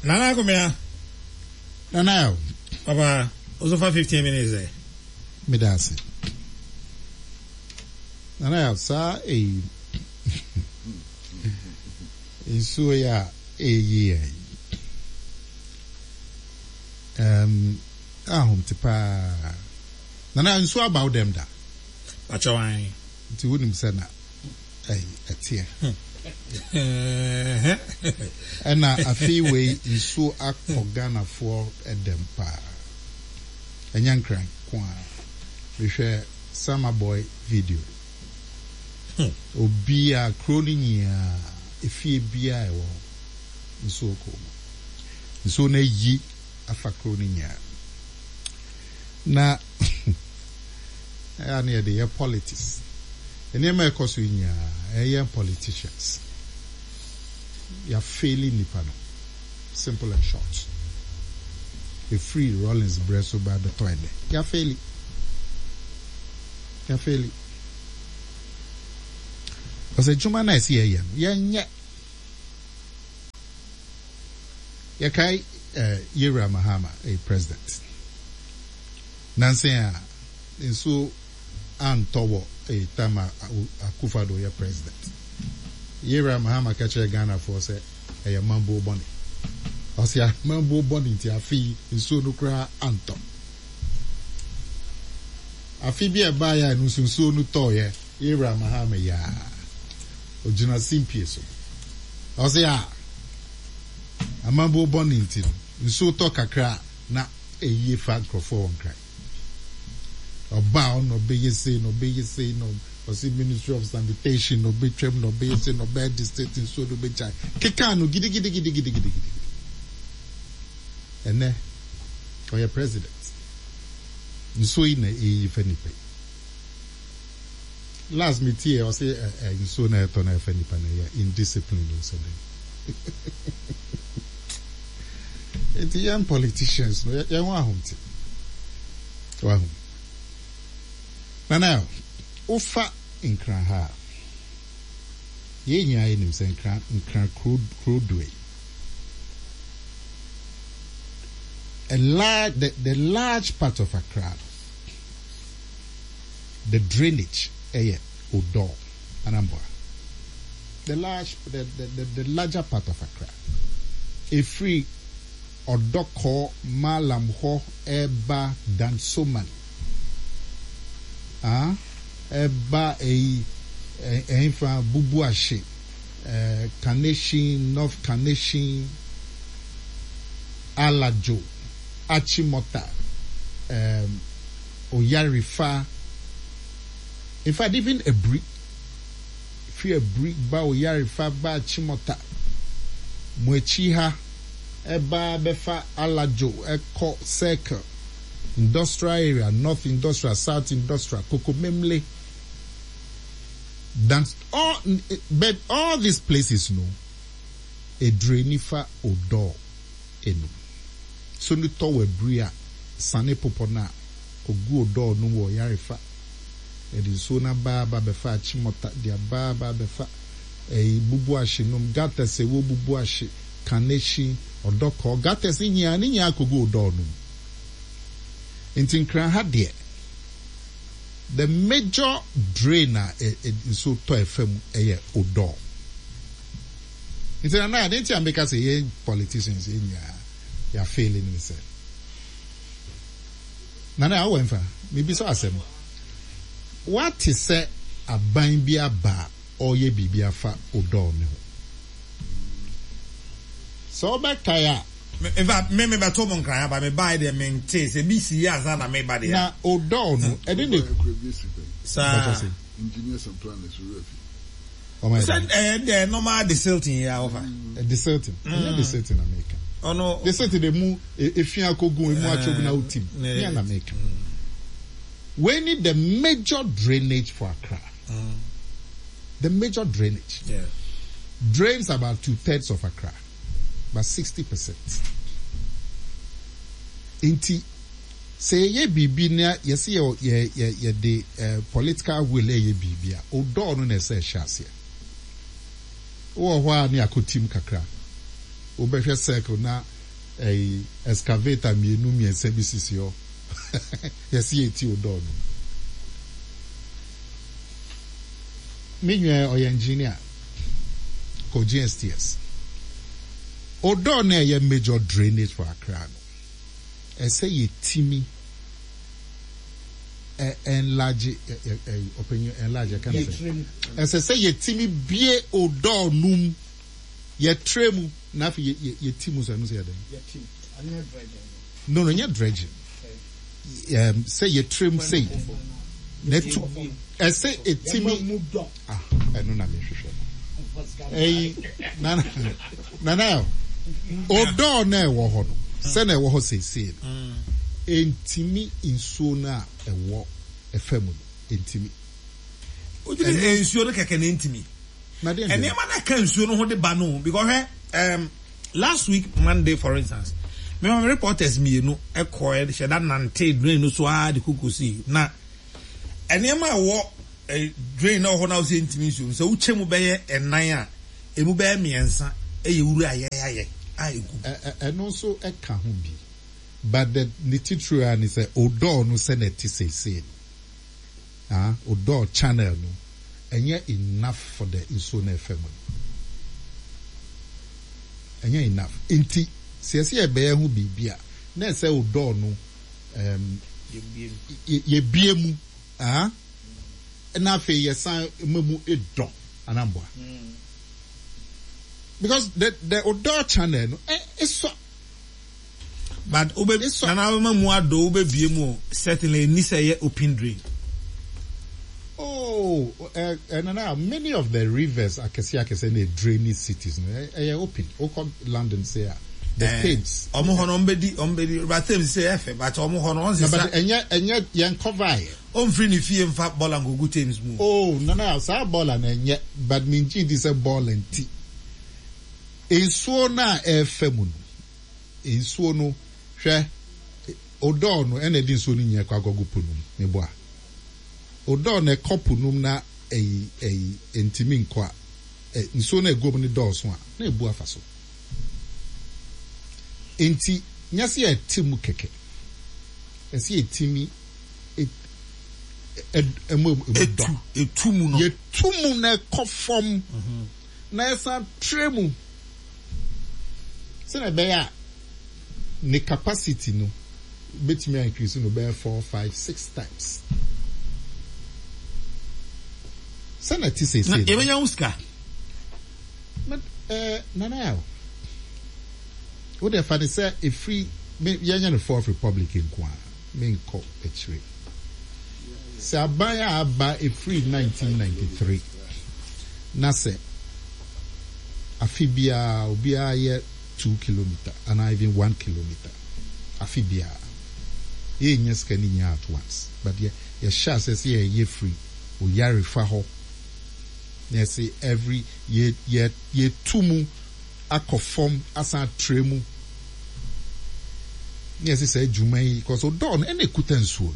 Nana Akomea. Nana o. Papa, wo so fa 15 minutes ɛ. Meda ase. Nana ya saa eyi nsuo yi a eyi yɛ yi. Um, ahomte paa. Nana nsuo aba wo dɛm da? Pakyɛ wan. Nti wonim sɛ na ɛyi ɛteɛ. Ɛna afei wei nsuo akɔ Ghanafoɔ dɛm paa. Ɛnyɛ Nkran nko ara. Mehwɛ Sama boy video. Obiara, kuro no nyinaa, efie biara a ɛwɔ hɔ, nsuo kɔ mu. Nsuo no ayi afa kuro no nyinaa. Na Ɛyɛ a na yɛde yɛ politics. Nneɛma a ɛkɔ so yi nyinaa, ɛyɛ yɛn politicians. Yɛafeeli nnipa no. Simple and short. Ɛfiri Rawlings berɛ so ba bɛtɔ ɛnnɛ. Yɛafeeli. Yɛafeeli. Because adwuma no a ɛsɛ yɛyɛ no, yɛnyɛ. Yɛkae eh, Yewura Mahama, eh, president. Nansa yi a, nsuo antɔ wɔ eh, time a Akufo-Addo yɛ president. Yewura Mahama ka kyerɛɛ Ghanafoɔ sɛ ɛyɛ amambuo bɔne. Ɔse amambuo bɔne nti afe yi nsuo no koraa antɔ. Afe bi a ɛbaeɛ a ɛno nso nsuo no tɔeɛ, Yewura Mahama yaa, ɔgyina simpie so. Ɔse a, amambuo bɔne nti no, nsuo tɔ kakra a na ɛyie fa nkurɔfoɔ wɔ Nkran. Ɔba a ɔna ɔbɛyɛ sei na ɔbɛyɛ sei na ɔse ministry of sanitation na ɔbɛtwam na ɔbɛyɛ sei na ɔbɛyɛ district nsuo no bɛgyae. Kekaa no gidigidigidigidigidi. Ɛnɛ ɔyɛ president. Nsuo yi na ɛyi fa nipa yi. Last me tie ɔse ɛ ɛ nsuo na ɛtɔ na ɛfa nipa na ɛyɛ indiscipline o sɛ dɛn. Nti yɛn politicians no yɛn ho ahomte. Wahu. Nana wofa Nkran ha a, yɛn nyinaa yɛnim sɛ Nkran Nkran kuro kuro dua yi. A large the, the large part of Accra no, the drainage ɛyɛ Odor Anambra. The large the, the, the, the larger part of Accra. Ɛfiri Ɔdɔkɔ, Mallam hɔ ɛba Dansoman ah ɛba ɛyi ɛhefa Bubuahye, eh, Kaneshie, North Kaneshie, Alajo, Achimota, um, Oyarifa, in fact even Aburi, firi Aburi ba Oyarifa ba Achimota, mo akyi ha ɛba bɛfa Alajo ɛkɔ Circle, Industrial Area, North Industrial, South Industrial, Kokomemle, than all, but all these places no, ɛdureni fa Odor enum. So no tɔ wɔ abiri a, sane popɔ no a, kɔgu Odor no mu wɔ Yarefa. Yɛde nsuo no aba aba abɛfa Achimota, de aba aba abɛfa ɛyi Bubuahye nom, gutters ɛwɔ Bubuahye, Kaneshie, Ɔdɔkɔɔ, gutters no nyinaa, ne nyinaa kɔgu Odor no mu. Nti Nkran ha deɛ, the major drain a nsuo tɔ ɛfa mu yɛ Odor. Nti Nana, adeɛ nti a meka sɛ yɛn politicians yɛn nyinaa yɛafeeli ne sɛ, Nana awɔ mfa, mebisa wo asɛm. Woate sɛ aban bi aba a ɔreyɛ biribi afa Odor no ho? Sɛ wobɛkae a. In fact, me mebɛto mo nkran aba, mebae deɛ mentee sɛ bi sii ansa na meba deɛ a. Na Odor no, ɛne ne. Saa. Engineers and planners, wo werɛ afi. Sɛ ɛyɛ deɛ normal desilting yi a wɔfa. Desilting, ɛnyɛ desilting na meka. Ɔno. Desilting de mu efi akogu emu atwogu na wotim. Nyɛ na meka. Wei ni the major drainage for Accra. The major drainage. Yeah. Drains about two thirds of Accra, about 60%. Nti Sɛ yɛyɛ biribi na yɛse yɛ yɛ yɛ yɛde eh, political will ɛyɛ biribi a, odɔɔ no na ɛsɛ ɛhyɛ aseɛ. Wowɔ hɔ a ne akɔtim kakra. Wobɛhwɛ circle na ɛyi excavator mmienu mmiɛnsa bi sisi hɔ. Yɛse yɛti odɔɔ no. Me nua ɔyɛ engineer kɔ GSTS. Odɔɔ no ɛyɛ major drainage for Accra no. ɛsɛ yɛtumi ɛ enlarge ɛ ɛ ɔpanyin enlarge ɛka ne sɛ ɛsɛ sɛ yɛtumi bie odɔɔ no mu yɛtrɛ mu na afei yɛ yɛ yɛti mu sɛ ɛno sɛ yɛ dɛn no no nyɛ dredging ɛm sɛ yɛtrɛ mu sei na ɛtu ɛsɛ ɛtumi ah ɛno na mehwehwɛ no ɛyi nana nana odɔɔ na ɛwɔ hɔ no sɛ na ɛwɔ hɔ seesei no ɛntumi nsuo no a ɛwɔ ɛfa mu no ɛntumi. Wodwene nsuo no kɛkɛ na ɛntumi. Nneɛma no ɛka nsuo no ho de ba no because hwɛ um, last week Monday for instance. Me ma me reporters mienu kɔɛ hyɛ da nantee drain no so ara de kɔ kosii na nneɛma a ɛwɔ drain na ɛwɔ hɔ no a wosɛ ntumi nsuo no sɛ wokyɛ mu bɛyɛ nnan a emu bɛyɛ miɛnsa yɛ wura a yɛayɛ a egu. Ɛno nso ka ho bi but the ne titiriw ara ne sɛ odor no sɛnea ɛte seesei no. Ah odɔɔ channel no ɛnyɛ enough for the nsuo no ɛfa mu no ɛnyɛ enough nti sɛ yɛsɛ yɛbɛyɛ ho biribi a na ɛsɛ odɔɔ no um, yɛbie mu ah na afei yɛsan ma mu dɔ anamboa because the the odɔɔ channel no ɛsɔ. But wobɛ nana wobɛma mu adɔ wobɛbie mu o certainly ɛnni sɛ ɛyɛ open drain. Oh eh, eh, nana many of the rivers akɛse akɛse na drainy cities no ɛyɛ open wokɔ London say a the eh, Thames. Ɔmo hɔ no ɔmo bɛdi ɔmo bɛdi river Thames sɛ ɛfɛ but ɔmo hɔ no ɔn sisa. But ɛnyɛ ɛnyɛ yɛn cover yɛ. Ɔnfiri ne fie nfa bɔɔla nkogu Thames mu. Oh nana saa bɔɔla no ɛnyɛ but me ngye di sɛ bɔɔla nti nsuo no a ɛɛfa mu no. Nsuo no, hwɛ, odɔɔ no ɛna ɛde nsuo no nyinaa kɔ akɔgu po no mu, meboa? Odɔɔ no ɛkɔ po no mu na ɛyi, ɛyi, ɛntumi nkɔ a, ɛ, nsuo no a ɛgu mu no dɔɔso a, na ɛbu afa so. Enti, nyɛ sɛ yɛte mu kɛkɛ, ɛsɛ yɛtumi ɛ, ɛ, ɛmu, ɛmu dɔ. Etu, etu mu no. Yɛtu mu na ɛkɔ fam, na yɛsan trɛ mu. Sɛnea ɛbɛyɛ a ne capacity no bɛtumi a increase no bɛyɛ 4, 5, 6 times. Sɛnea ɛte seesei no. Na yɛbɛnya ho sika. But eh, Nana Yaw, wo deɛ fa ne sɛ ɛfiri, yɛnyɛ no Fourth Republic nko a, menkɔ akyire. Sɛ aban a aba ɛfiri 1993 na sɛ afe biara obiara yɛ 2 kilometre anaa even 1 kilometre afe biara, yɛnnya sika no nyinaa at once but yɛ yɛhyɛ aseɛ sɛ yɛyɛ firi Oyarefa hɔ na yɛse every yɛ yɛ yɛtu mu akɔ fam asan atra mu na yɛse saa adwuma yi cause odɔɔ no ɛna ɛkuta nsuo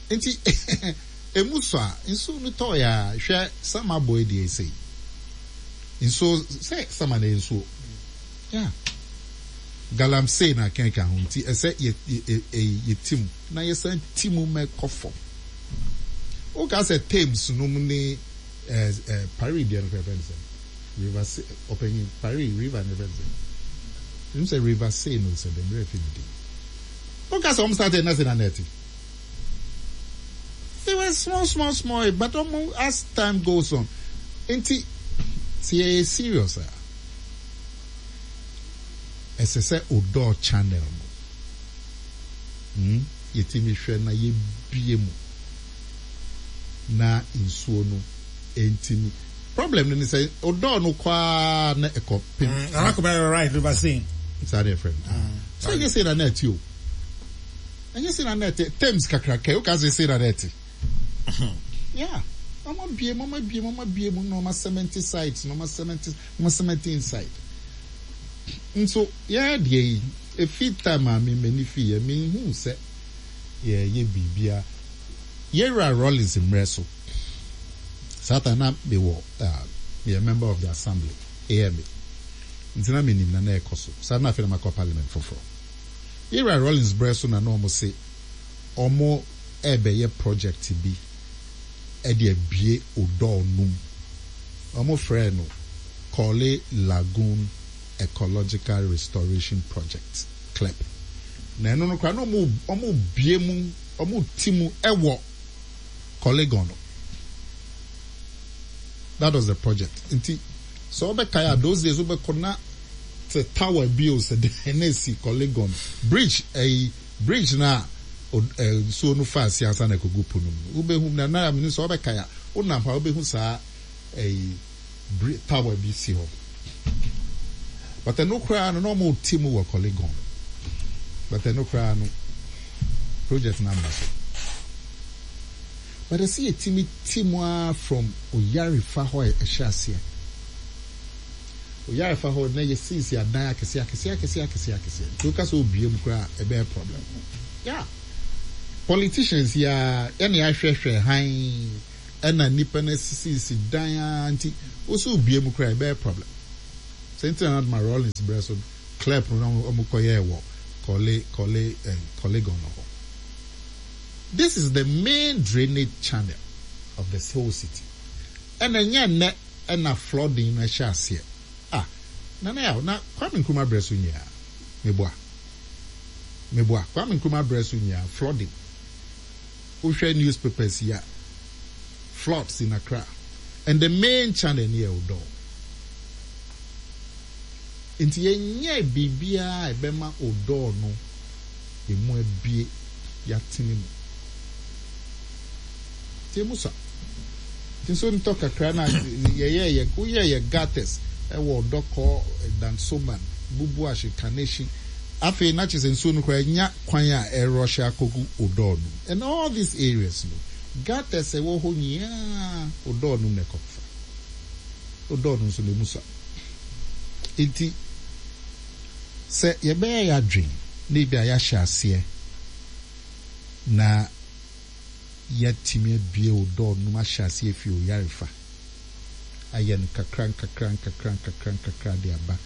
no nti ɛmu sɔ a nsuo no tɔɔ yɛ a hwɛ sama bɔ deɛ ɛsɛ yi nsuo sɛ sama na nsuo yeah galamsey na kɛnka ho nti ɛsɛ yɛ yɛ yɛ ti mu na yɛsan ti mu mɛkɔ fam woka sɛ Thames nom ne ɛɛ ɛɛ Paris deɛ no fɛfɛ no sɛ River Se ɔpanyin Paris river no yɛfrɛ no sɛn? Menim sɛ River Seine o sɛ dɛn me werɛ afi ne din. Woka sɛ wɔn started na sɛ na na ɛte. They were small small small but wɔn as time goes on nti sɛ yɛyɛ serious a ɛsɛ sɛ Odor channel no hmm yɛtumi hwɛ na yɛbie mu na nsuo no ntumi Problem no ne sɛ odɔɔ no kɔ ara na ɛkɔ pem. Nana Kobena you're right river Seine. Saa na yɛfrɛ no. Sɛ ɛnyɛ sei na na ɛte o. Ɛnyɛ sei na na ɛte. Thames kakraka yi woka sɛ sei na na ɛte. Yeah. Wɔn abue mu, wɔn abue mu, wɔn abue mu na wɔn asɛmɛnte sides na wɔn asɛmɛnte, wɔn asɛmɛnte inside. Nso yɛn deɛ yi, efi time a me m'ani fi yɛ, menhuu sɛ yɛyɛ biribiara. Yɛwura Rawlings mmerɛ so. Saa time na me wɔ ah me yɛ member of the assembly, AMA, nti na me nim na na ɛkɔ so. Saa na afei na makɔ parliament foforɔ. Yɛwura Rawlings berɛ so na na wɔn se wɔn ɛrebɛyɛ project bi ɛde abue Odor no mu. Wɔn frɛɛ no Korle Lagoon Ecological Restoration Project, KLEP. Na ɛno no koraa na wɔn wɔn rebue mu, wɔn reti mu ɛwɔ Korle-Gonno. That was the project. Nti sɛ wobɛkae a those days wobɛkɔ na te tower bi o sɛ dɛn na esi Korle-Gonno bridge ɛyi bridge no a nsuo no fa ase ansa na ɛkɔgu po no mu no wobɛhu na na menim sɛ wobɛkae a wonam hɔ a wobɛhu saa ɛyi bri tower bi si hɔ but ɛno koraa no na wɔn te mu wɔ Korle-Gonno but ɛno koraa no project no amma so. But ɛsɛ yɛtumi te mu ara from Oyarifa hɔ a ɛhyɛ aseɛ. Oyarefa hɔ na yɛsiesie adan akɛseɛ akɛseɛ akɛseɛ akɛseɛ akɛseɛ nti woka sɛ wobue mu koraa a ɛbɛyɛ problem. Yeah. Politicians yi ara ɛna yɛahwɛhwɛ hann ɛna nnipa no asisisi dan ara nti wo sɛ wobue mu koraa ɛbɛyɛ problem. Sɛ nti na na ma Rawlings berɛ so clerp no na wɔn kɔyɛɛ wɔ Korle Korle eh, Korlegon hɔ. This is the main drainage channel of the whole city. Ɛna ɛnyɛ nnɛ ɛna flooding no ɛhyɛ aseɛ. Ah, Nana Yaw, na Kwame Nkrumah berɛ so nyinaa, meboa, meboa, Kwame Nkrumah berɛ so nyinaa, flooding. Wohwɛ newspapers yi a, floods in Accra. And the main channel no yɛ Odor. Nti yɛnyɛɛ biribiara a ɛbɛma Odor no emu abue, yɛatene mu. Nti emu sua. Nti nso ntɔ kakra na yɛyɛɛ yɛ, woyɛɛ yɛ gutters ɛwɔ Odɔkɔ, Dansoman, Bubuahye, Kaneshie. Afei na kyerɛ sɛ nsuo no koraa anya kwan a ɛrɔhye akɔgu Odor no mu. And all these areas no, gutters a ɛwɔ hɔ nyinaa Odor no mu na ɛkɔfa. Odor no nso na emu sua. Nti sɛ yɛbɛyɛ yɛn adwene na ebi a yɛahyɛ aseɛ na yɛatumi abue Odor no mu ahyɛ aseɛ afi Oyarefa ayɛ no kakra nkakra nkakra nkakra nkakra de aba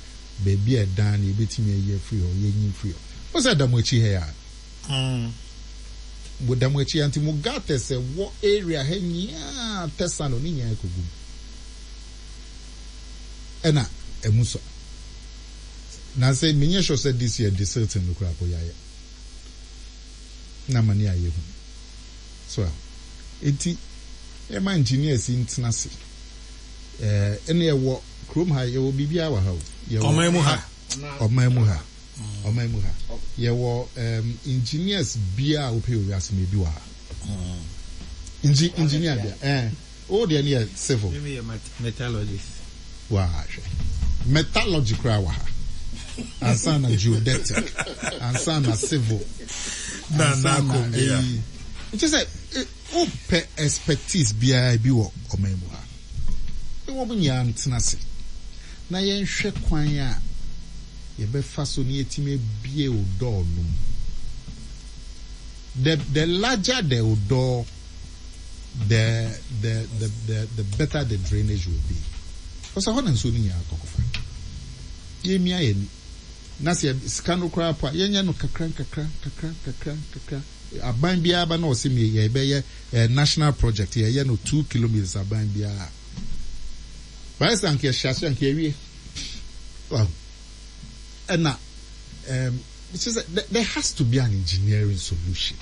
baabi a ɛdan no yɛbɛtumi ayi afiri hɔ, yɛnyi mfiri hɔ. Mo sɛ ɛda mo akyi ha yi a? Mo da mo akyi ha nti mo gutters ɛwɔ area ha nyinaa tɛsa no ne nyinaa kɔgu mu. Ɛna ɛmu sɔ. Na sɛ menyɛ sure sɛ this year desilting no koraa po yɛayɛ. Na ama ne ayɛ hu. So a, enti yɛma engineers yi ntena ase. Ɛɛ, ɛne ɛwɔ kurom ha, yɛwɔ biribiara wɔ ha o. Yɛwɔ Ɔman mu ha. Ɔman mu ha. Ɔman mu ha. Yɛwɔ um, engineers biara a wopɛ wɔ wiase mu ebi wɔ ha. Ngi, engineer bia, eh. Wo deɛ no yɛ civil. Me meyɛ metallurgist. Waa hwɛ. Metallurgy koraa wɔ ha. Ansa na geodetic, ansa na civil, ansa na eyi. Nkyɛ sɛ wopɛ expertise biara bi wɔ ɔman mu ha. Ne wɔn nyinaa ntena ase na yɛnhwɛ kwan a yɛbɛfa so na yɛatumi abue odɔɔ no mu. The, the larger the odɔɔ, the the the the the better the drainage will be. Because ɛhɔ na nsuo no nyinaa kɔ kɔfa. Yɛmia yɛn ani. Na sɛ sika no koraa po a, yɛnyɛ no kakra nkakra nkakra nkakra nkakra. Aban biara ba na ɔse me yɛbɛyɛ eh, national project, yɛyɛ no 2 kilometres aban biara. Bayɛ sɛ anka yɛhyɛ ase anka yɛwie. Wahu. Ɛna um, kyerɛ sɛ there has to be an engineering solution.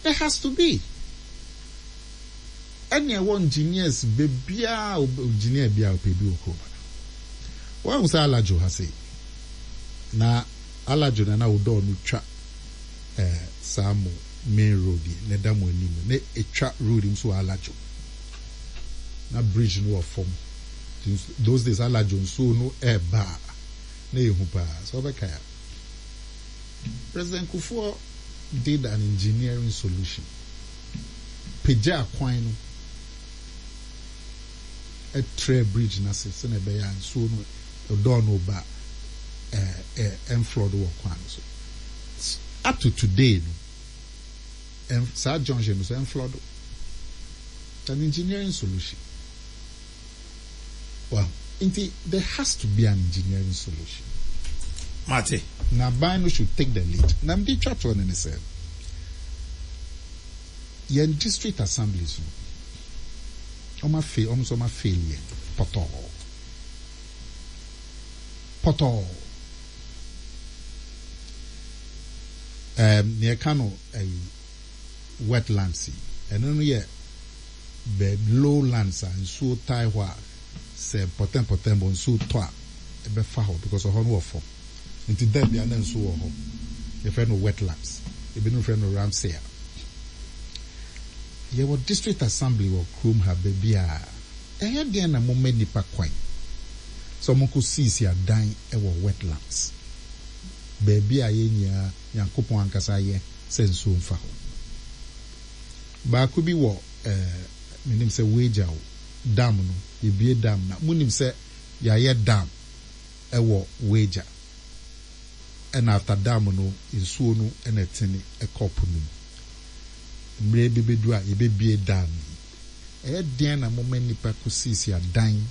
There has to be. Ɛna ɛwɔ engineers beebiara, engineer biara ɔpɛ bi wɔ kurom ha. Wɔn sɛ Alajo ha sei. Na Alajo na na Odor no twa eh, saa mo main road yi na ɛda mo anim na etwa road yi nso wɔ Alajo. Na bridge no wɔ fam. Those days Alajo nsuo no ɛɛba a na ehu paa. Sɛ ɔbɛkae a. President Kufuor did an engineering solution. Pagyaa kwan no ɛtrɛɛ bridge no ase sɛnea ɛbɛyɛ a nsuo no Odor no ba a ɛ ɛnflood wɔ kwan no so. Up to today no, ɛn saa junction no so ɛnflood. It's an engineering solution. Well, nti there has to be an engineering solution. Mate. Na aban no should take the lead. Na mede twa toɔ no ne sɛ, yɛn district assemblies no, wɔn afe, wɔn nso wɔn afail yɛn pɔtɔɔ. Pɔtɔɔ. Ɛɛm, nea ɛka no ɛyi wetlands yi, ɛno no yɛ bɛ lowlands a nsuo tae hɔ a sɛ mpɔtɛmpɔtɛm bɔ nsuo tɔ a ɛbɛfa hɔ because ɛhɔ no wɔ fam. Nti da biara na nsuo wɔ hɔ. Yɛfrɛ no wetlands. Ebinom frɛ no Ramsar. Yɛwɔ district assembly wɔ kurom ha baabi a ɛyɛ deɛn na moma nnipa kwan sɛ wɔnkɔ siisi adan wɔ wetlands, baabi a yɛn nyinaa Nyankopɔn ankasa ayɛ sɛ nsuo mfa hɔ. Baako bi wɔ eh, menim sɛ Weija o, dam no, yɛbue dam no a, monim sɛ Yɛayɛ dam ɛwɔ Weija ɛna after dam no nsuo no ɛna ɛtene ɛkɔ po no mu. Mmerɛ bi bɛdu a yɛbɛbue dam yi. Ɛyɛ deɛn na moma nnipa kɔsiesie adan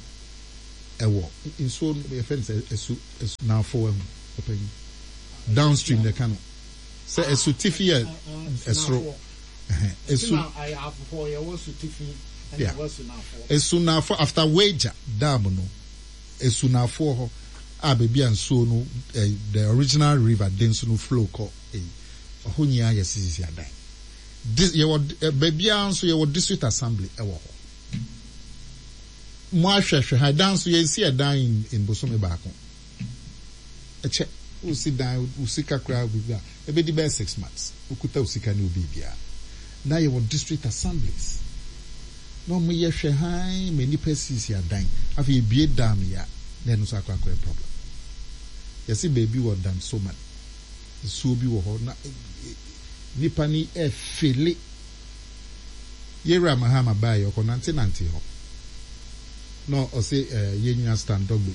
ɛwɔ nsuo no yɛfrɛ no sɛ ɛsu ɛsu naafo wahu ɔpanyin downstream na ɛka no sɛ asutifi yɛ ɛsoro ɛsu yeah esunafo after Weija dam no esunafoɔ hɔ a baabi a nsuo no eh, the original river Densu no flow kɔ eyi ɛhɔ nyinaa yɛ sisisi adan Di yɛwɔ eh, baabiara nso yɛwɔ district assembly ɛwɔ hɔ mo ahwɛhwɛ ha ɛdan nso yɛnsi ɛdan in in bosome baako. Ɛkyɛ, wosi dan, wo sika koraa biribi a, ɛbɛdi bɛyɛ 6 months, wokuta wo sika ne wo biribiara. Na yɛwɔ district assemblies, na wɔyɛ hwɛ hann ma nnipa sisi adan. Afei yɛbue dam yi a, na ɛno nso akɔ akɔyɛ problem. Yɛse baabi wɔ Dansoman, nsuo bi wɔ hɔ na nnipa no ɛfele. Yɛwura Mahama baeɛ, ɔkɔnantenante hɔ, na ɔse yɛn nua Stan Dogbe,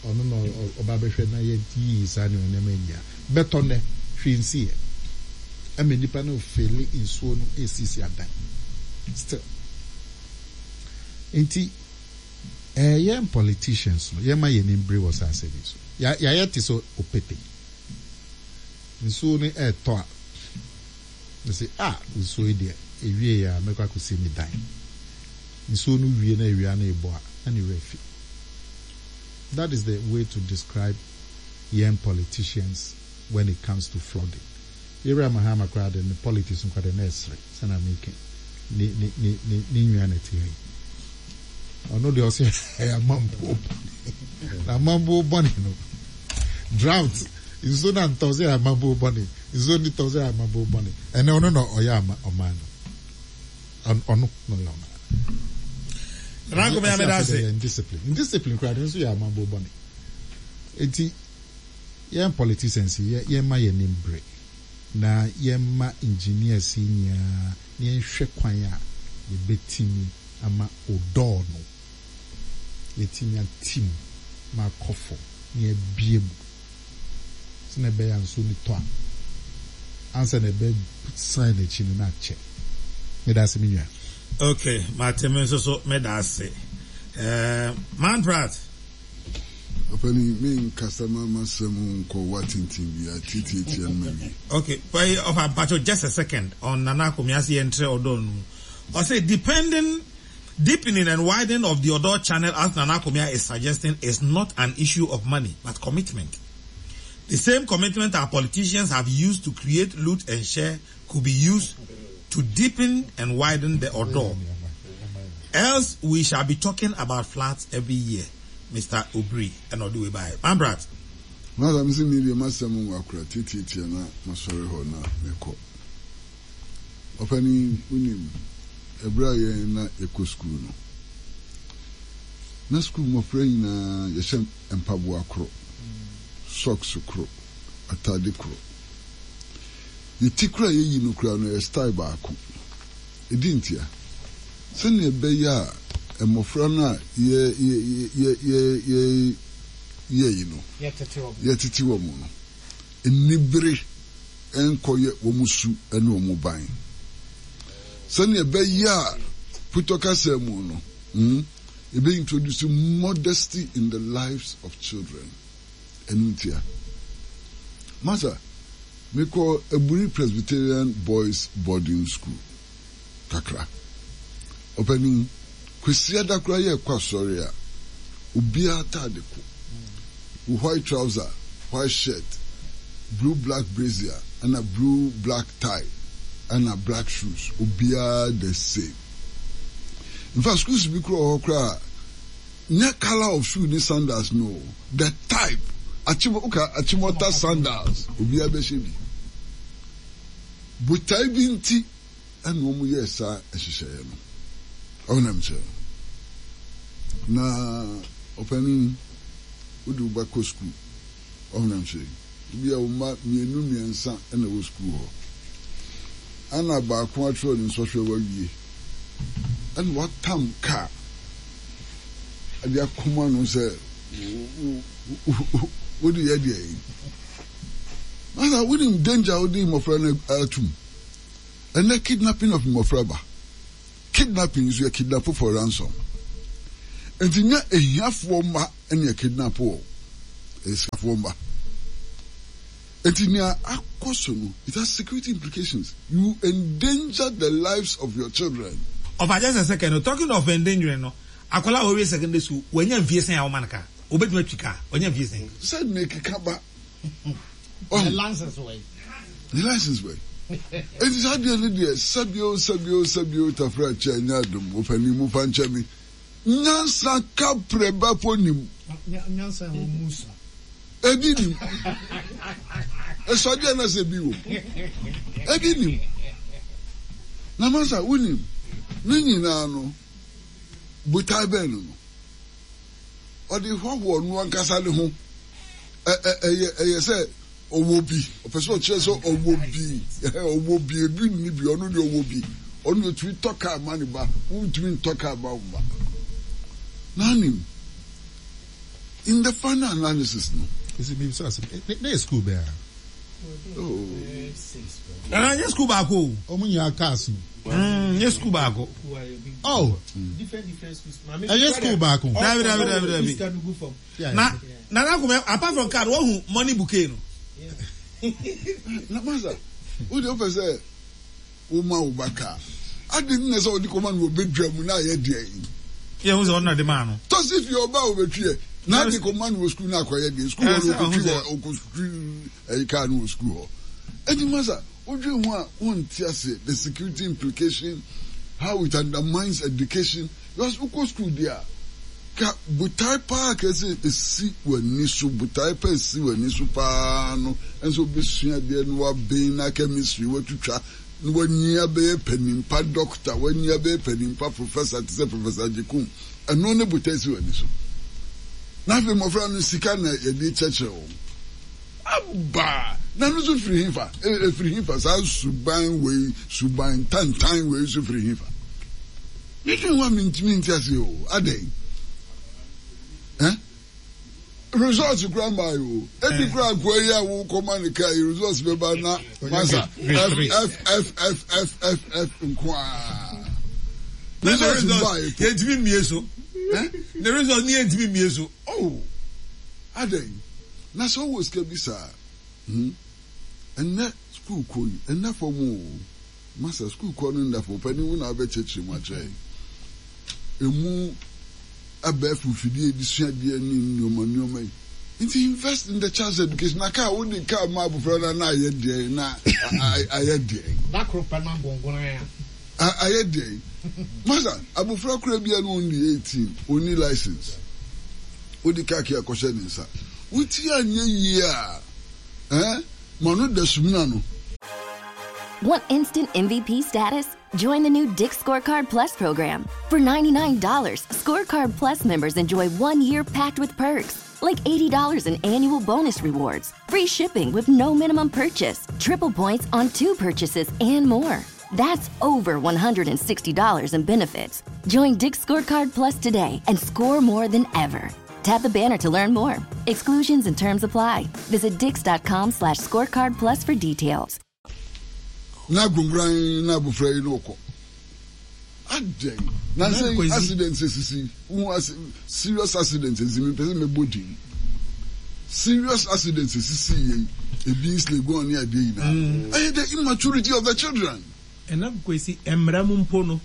ɔno na ɔba bɛhwɛ na yɛyiyi saa nneɛma nneɛma yi nyinaa. Bɛtɔ nnɛ, hwee nsiiɛ. Ɛma nnipa no fele nsuo no resisi adan. Still. Nti, ɛɛ yɛn politicians no, yɛmma yɛn ani mbere wɔ saa asɛm yi so. Ya yɛayɛ te sɛ opepe. Nsuo no ɛretɔ a, mese, ah, nsuo yi deɛ, ɛwieɛ a mɛkɔ akɔsi me dan. Nsuo no wie na awia no rebɔ a, na ne werɛ afi. That is the way to describe yɛn politicians when it comes to flooding. Yɛwura Mahama koraa de ne politics no koraa de na ɛsere sɛnea meka yi. Ne ne ne ne ne nua na ɛte ha yi. Ɔno deɛ ɔsɛ ɛyɛ amambuo bɔne. Na amambuo bɔne no drought nsuo na ntɔ sɛ ɛyɛ amambuo bɔne. Nsuo ni tɔ sɛ ɛyɛ amambuo bɔne. Ɛnɛ ɔno na ɔyɛ ama ɔman no. Ɔno na ɔyɛ ɔman no. Nana Akomea meda ase. Indiscipline. Indiscipline koraa de nso yɛ amambuo bɔne. Enti yɛn politicians yi yɛ yɛmma yɛn ani mbere na yɛmma engineers yi nyinaa na yɛnhwɛ kwan a yɛbɛtumi ama odɔɔ no yɛatumi ate mu ma akɔ fam na yɛabue mu sɛnea ɛbɛyɛ a nsuo no tɔ a ansa na ɛbɛsan n'akyi no na akyɛ. Meda ase me nua. Ok, mate me nso so meda ase. Eh, Man Pratt. Ɔpanin, me nkasa ma m'asɛm nkɔ wa tenten biara, tiatiatia no mawie. Ok, wai ɔfa mpacho just a second on Nana Akomea se yɛntrɛ ɔdɔ no mu. Ɔse depending, deepening and widening of the Odor channel as Nana Akomea is suggesting is not an issue of money but commitment. The same commitment our politicians have used to create, loot and share could be used to deepen and widen the Odor. Else we shall be talking about floods every year. Mr. Obri and all the way by. Man Pratt. Masa mese me deɛ m'asɛm nwa kora tiatiatia na masɔre hɔ na mekɔ. Ɔpanin, wonim, ɛberɛ a yɛn na yɛkɔ sukuu no, na sukuu mmɔfra nyinaa yɛhyɛ mpaboa koro, socks koro, atade koro. Yɛ ti koro a yɛyi no koraa no ɛyɛ style baako. Ɛdi ntia? Sɛnea ɛbɛyɛ a mmɔfra no a yɛ, yɛ, yɛ, yɛ, yɛ, yɛyi no, yɛtete wɔn no, anibere nkɔyɛ wɔn su ne wɔn ban. Sɛnea ɛbɛyɛ a Putɔ kasa mu no, hmm, ebe introduce modesty in the lives of children. Ɛno ntia. Masa, mekɔ Aburi Presbyterian Boys Boarding School kakra. Ɔpanin, Kwasiada koraa yɛrekɔ asɔre a, obiara ataade ko. Wo white trouser, white shirt, blue black brazier ɛna blue black tie ɛna black shoes, obiara the same. In fact, schools bi koraa wɔ hɔ koraa a, nyɛ colour of shoe ne sandals no o, the type, akyem, woka Achimota sandals, obiara bɛhyɛ bi. Botae bi nti ɛna wɔn yɛɛ saa nhyehyɛeɛ no. Ɔho na mekyerɛ no. Na ɔpanin, wode wo ba kɔ sukuu. Ɔho na mekyerɛ yi. Ebi a wo mma mmienu mmiɛnsa na ɛwɔ sukuu hɔ. Ɛna baako atwerɛ ne nsɔhwɛ wawie. Ɛna watam kaa. de akoma no sɛ wode yɛ deɛ yi. Masa wonim danger a wode mmɔfra no atum. Ɛnɛ kidnapping of mmɔfra ba. Kidnapping nso yɛ kidnap for ransom. Nti nyɛ ahiafoɔ mma ne yɛ kidnap wɔ, ɛyɛ sikafoɔ mma. Nti nea akɔ so no, it has security implications. You endanger the lives of your children. Ɔfa just a second o, talking of endangering no, akwadaa a wawie secondary school, wanya mfie sɛn a woma no car? Obetumi atwi car? Wanya mfie sɛn? Sɛ mekeka ba. Ne license wɔ yi. Ne license wɔ yi. Eti saa deɛ no deɛ sɛbio sɛbio sɛbio tafra kyɛ nyɛ adom ɔpanin mo fa nkyɛ me. Nyansa ka prɛ ba po nim. Nyansa wɔ mu sa. Ebi nim. Ɛsɔ deɛ na sɛ bi wɔ. Ebi nim. Na masa wonim ne nyinaa no botae bɛn no no. Ɔde hoahoa ɔno ankasa ne ho. Ɛ ɛ ɛyɛ ɛyɛ sɛ ɔwɔ bi. Ɔpɛ sɛ ɔkyerɛ sɛ ɔwɔ bi. Ɔwɔ bi. Ebi nni bi. Ɔno deɛ ɔwɔ bi. Ɔno deɛ ɔtumi tɔ kaa ma ne ba. Wontumi ntɔ kaa ma wo mma. N'anim. In the final analysis no. Esi mi bisa asem. Ne ne yɛ school bɛn a? Oh. Nana nye school baako o. Ɔmo nyinaa cars no. Mm, nye school baako. Oh. Ɛyɛ school baako. Dabi dabi dabi dabi. Na Nana Kume apart from card wohu money bouquet no. Na masa, wo de wopɛ sɛ woma wo ba kaa. Adi nti na sɛ wode kɔma no wɔ badwa mu na ayɛ deɛn? Yɛ hu sɛ ɔno na de maa no. Tɔsi fie ɔba a ɔbɛtwi ɛ. Na ade kɔma no wɔ sukuu na akɔyɛ deɛn? Sukuu hɔ no ɔkɔtwi wɔ ɔkɔtwi ɛyi kaa no wɔ sukuu hɔ. Enti masa wodwen ho a wonte aseɛ the security implication, how it undermines education because wokɔ sukuu deɛ a Ka botae paa a ɛsɛ sɛ esi w'ani so. Botae pa a esi w'ani so paa no ne sɛ wobɛsua adeɛ na woaben na chemistry woatwitwa na woanyin abɛyɛ panin pa dɔkta, woanyin abɛyɛ panin pa professor te sɛ Professor Agyekum. Ɛno ne botae si w'ani so. Na afei mmɔfra no sika na yɛde kyerɛkyerɛ wɔn. Aba! Na ɛno nso firi hefa? Ɛfiri hefa? Saa suban wei, suban tantan wei nso firi hefa? Medwen ho a mentumi nte aseɛ o, adɛn? Eh? Results kura mmaa yi o. Ebi kura akoa yi a wokɔma ne kaa yi results bɛba na masa F F F F F F F nko ara. Results mmaa yi. Yɛntumi mmie so. Ne results ni yɛntumi mmie so. Oh, adɛn? Na sɛ ɔwɔ sika bi saa, hmm? Ɛnnɛ sukuu kɔ yi, ɛnna fam o. Masa, sukuu kɔ no nna fam. Ɔpanin, wo na wobɛkyerɛkyerɛ mu akyerɛ yɛn. Emu abɛɛfo mfidie a yɛde sua adeɛ ne nneɛma nneɛma yi. Nti invest in the child's education. Na kaa wode kaa ma abofra no na ayɛ deɛn na ayɛ deɛn. Da koro pɛ na gongonan a. Ayɛ deɛn. Masa, abofra koraa bi a na ɔnni 18, ɔnni license. Wode kaa key akɔhyɛ ne nsa. Wo ti anyɛ yie a, eh, ma no da sumina no. Want instant MVP status? Join the new Dick's Scorecard Plus program. For $99, Scorecard Plus members enjoy one year packed with perks, like $80 in annual bonus rewards, free shipping with no minimum purchase, triple points on two purchases, and more. That's over $160 in benefits. Join Dick's Scorecard Plus today and score more than ever. Tap the banner to learn more. Exclusions and terms apply. Visit dix.com slash scorecard plus for details. Na agonguran na abofra yi na ɔkɔ. Adɛn? Na sɛ accident esisi, wohu ase serious accident esisi, mepɛ sɛ mɛbɔ din. Serious accident esisi yɛ yi, ebi Legon ne adeɛ nyinaa. Mm. Ɛyɛ the immaturity of the children. Ɛna Kwesi, mmara mu mpo no,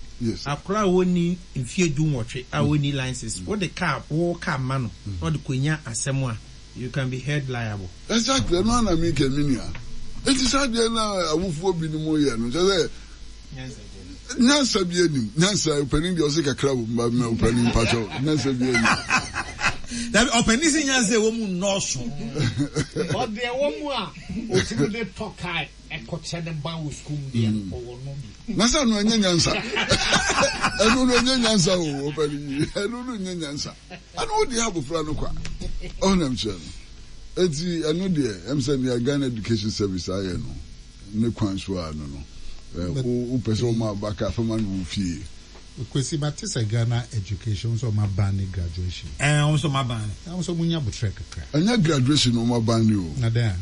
akora a ɔnni mfeɛ dunwɔtwe a ɔnni license, wode car, wo car ma no na ɔde kɔnya asɛm a, you can be held liable. Exactly, ɛno ara na meka me nua. Enti saa adeɛ no a awofoɔ binom yɛ no, kyerɛ sɛ nyansa bi anim. Nyansa, ɔpanin deɛ ɔse kakra wɔ mu ba mɛ ɔpanin mpakyɛw, nyansa bi anim. Dabi, ɔpanin se nyansa ɛwɔ mu nnɔɔso. Ɔdeɛ ɛwɔ mu a, ɔtumi de tɔ car Ɛkɔkyɛ ne ba wɔ sukuu mu deɛ mm. ɔwɔ no bi. Na sɛ ɛno ɛnyɛ nyansa. Ɛno no ɛnyɛ nyansa o ɔpɛni yi. Ɛno no nyɛ nyansa. Ɛno wo deɛ abofra no kwa. Ɔnam kyerɛ no. Eti ɛno deɛ ɛm sɛ nea Ghana Education Service ayɛ no ne kwan so a no no. Wopɛ sɛ ɔma aba ka fama no wɔ fie. Kwesi mate sɛ Ghana education wɔn sɛ wɔn aban ne graduation. Ɛɛ wɔn sɛ wɔn aban ne. Wɔn sɛ wɔn nya botrɛ kakra. Ɛnyɛ graduation na wɔn aban ne o. Na dɛn a.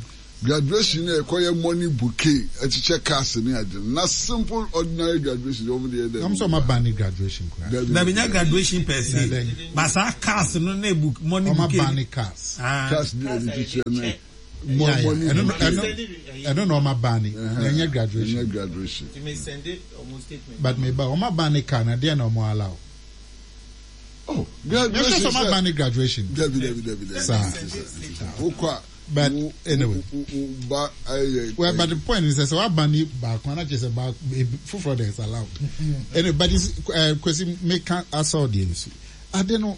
Graduation na yɛkɔ yɛ money bouquet ɛkyekyɛ cars ne ade no na simple ordinary graduation deɛ wɔn de yɛ dɛn. Wɔn sɛ wɔn aban ne graduation koraa. Dabi nyɛ graduation per se but saa cars no ne bu money bouquet. Wɔn aban ne cars. Cars ne yɛde kyekyɛ ne. Yeah, yeah. Ɛno ɛno ɛno na ɔma ban ni. Na ɛnyɛ graduation. Ɛnyɛ graduation. But me ba ɔma ban ni car na deɛ na ɔmo allow. Oh, graduation. Ɛsɛ sɛ ɔma ban ni graduation. Dabi dabi dabi dabi. Saa. Wokɔ a. But anyway. Ba ayɛ. Well, but the point is sɛ waba ni baako ana kyerɛ sɛ baako foforɔ de is allowed. Anyway, but it's uh, Kwesi meka asɔ deɛ nso. Ade no,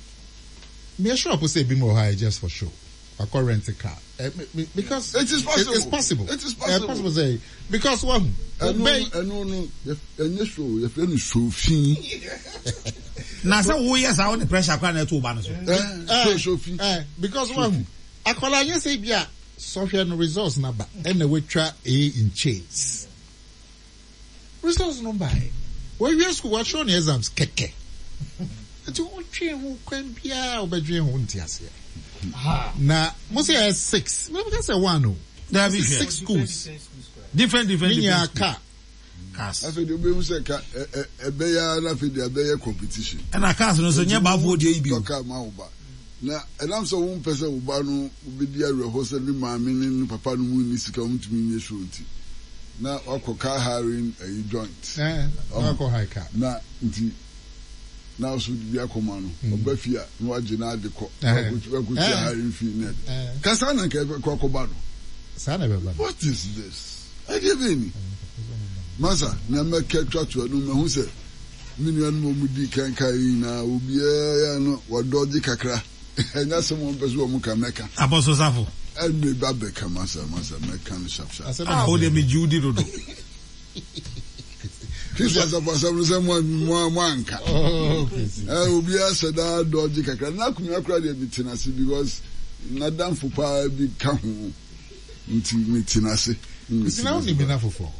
me sure po sɛ ebi mu wɔ hɔ a just for show. Wakɔ rent car eh, me, because it is possible. It, it's possible. It is possible. Eh, possible say because wahu. Ɛno ɛno no ɛnyɛ show yɛfrɛ no show fi. Na sɛ woyɛ saa wode pressure koraa na ɛto wo ba no so. Eh, show show fi. Eh, because wahu akwadaa nyɛ sɛ bi a sɔhwɛ no results na ba ɛna watwa A in chains. Results no bae. Wawie sukuu, watwerɛ ne exams kɛkɛ. Nti wodwen ho kwan biara a wobɛdwen ho nte aseɛ. Na mo sɛ ɛyɛ six, me ka sɛ one o. Dabi hwɛ. Six schools. Different different Ne different nyinaa car. Cars. Afei deɛ wobɛhu sɛ ka ɛbɛyɛ ara na afei deɛ abɛyɛ competition. Ɛna cars no nso nyɛ baafoɔ deɛ yi bi o. Tɔ car ma wo ba. Na ɛnam sɛ wompɛ sɛ wo ba no bedi awerɛhow sɛ ne maame ne ne papa no mu nni sika a wontumi nyɛ show nti, na wakɔ car hiring ayi joint. Ɛɛ, na wakɔ hire car. Na nti, na wo nso wode bi akɔma no. Ɔba fie a, na wagye n'ade kɔ, na wakotua hiring fee ne ade. Ka saa na anka ɛbɛkɔ akɔba no. Saa na ɛbɛba no. What is this? Ɛdeɛ bɛn ni? Masa, nea mɛka atwa to ɛno, mahu sɛ Me nuanom a wɔdii kan kae yi nyinaa, obiara yɛ a na wadɔgye kakra. Ɛnyɛ asɛm a wɔmpɛ sɛ wɔka, mɛka. Apostle Safo. Ɛnde ba bɛka m'asɛm, m'asɛm, mɛka no sharp sharp. Ah, wo deɛ megye wo di dodo. Kristo asafo asɛm no sɛ mo mo mo anka. Oh, eh, obiara hyɛ daa dɔgye kakra. Na akonnwa koraa deɛ mete n'ase because n'adamfo paa bi ka ho. Nti mete n'ase. Nti na wonim me n'afoforɔ?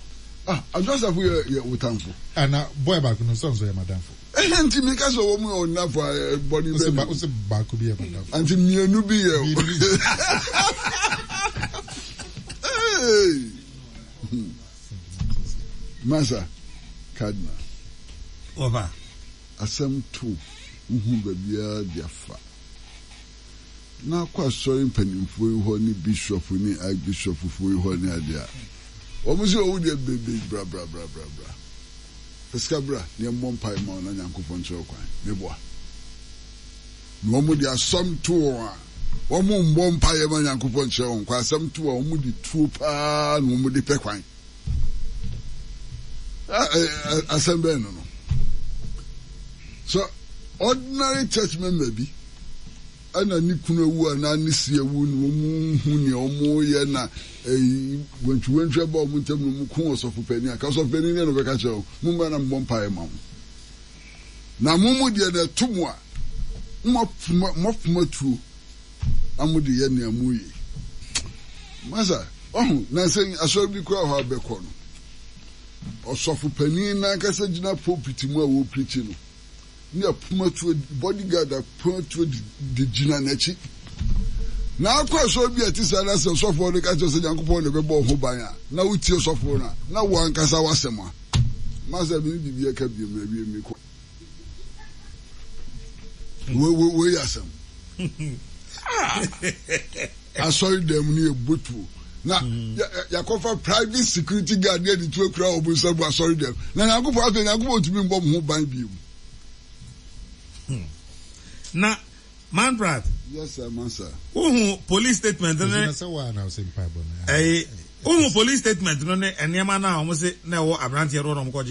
Ah, Adwo Asafo yɛ yɛ wo tamfo. Ah, na boy baako no nso nso yɛ m'adamfo. Ɛhɛn nti meka sɛ wɔn yɛ ɔnafo a bɔne bɛ ne. Wose baako bi yɛ m'adamfo. Nti mmienu bi yɛ. Mmienu bi. Hey! Masa, Cardinal. Wɔfa. Asɛm to wohu baabiara de afa. Na akɔ asɔre mpanimfoɔ yi hɔ ne bishop ne archbishopfoɔ yi hɔ ne adeɛ a, wɔn sɛ ɔwo deɛ bebe bra bra bra bra bra. Fa sika bra na yɛmmɔ mpae ma wo na Nyankopɔn nkyerɛ wo kwan. Meboa. Na wɔn de asɛm to wɔn a, wɔn mmɔ mpaeɛ ma Nyankopɔn nkyerɛ wɔn kwan. Asɛm to a wɔn de tuo paa na wɔn de pɛ kwan. Asɛm bɛn no no? So ordinary church member bi ɛna ne kunu awu anaa ne si awu na wɔn hu nea wɔn yɛ na ɛyi wantwiwantwi aba wɔn ntam na wɔn ko ɔsɔfo panyin aka ɔsɔfo panyin deɛ na ɔbɛka kyerɛ wɔn mo mma na mmɔ mpaeɛ ma mo na mo mu deɛ na ɛto mo a mo afuma mo afuma tuo na mo de yɛ nea mo yɛ masa ɔho na sɛ asɔre bi kura hɔ abɛkɔ no ɔsɔfo panyin n'ankasa gyina pulpit mu a wɔreprikyi no ne apomatuo bodyguard apomatuo de gyina n'akyi. Na akɔ asɔre bi a ɛte saa na sɛ ɔsɔfoɔ no ka kyerɛ sɛ Nyankopɔn na ɛbɛbɔ ho ban a, na wotie ɔsɔfoɔ no a, na wo ankasa w'asɛm a. Masa me ne biribi ɛka biom na awie mekɔ. Wei yɛ asɛm. Asɔre dan mu no yɛ botuo na yɛakɔfa private security guard ne yɛde tuo kura wɔn nsa mu asɔre dɛm na nyankopɔn afei nyankopɔn ntumi mbɔ mo ho ban bio mu. Hmm. Na Manfred. Yes sir, master. Wohu police statement ne. Ɛyi wohu police statement no ne nneɛma no a wɔn se na ɛwɔ aberanteɛ no wɔn kɔgye.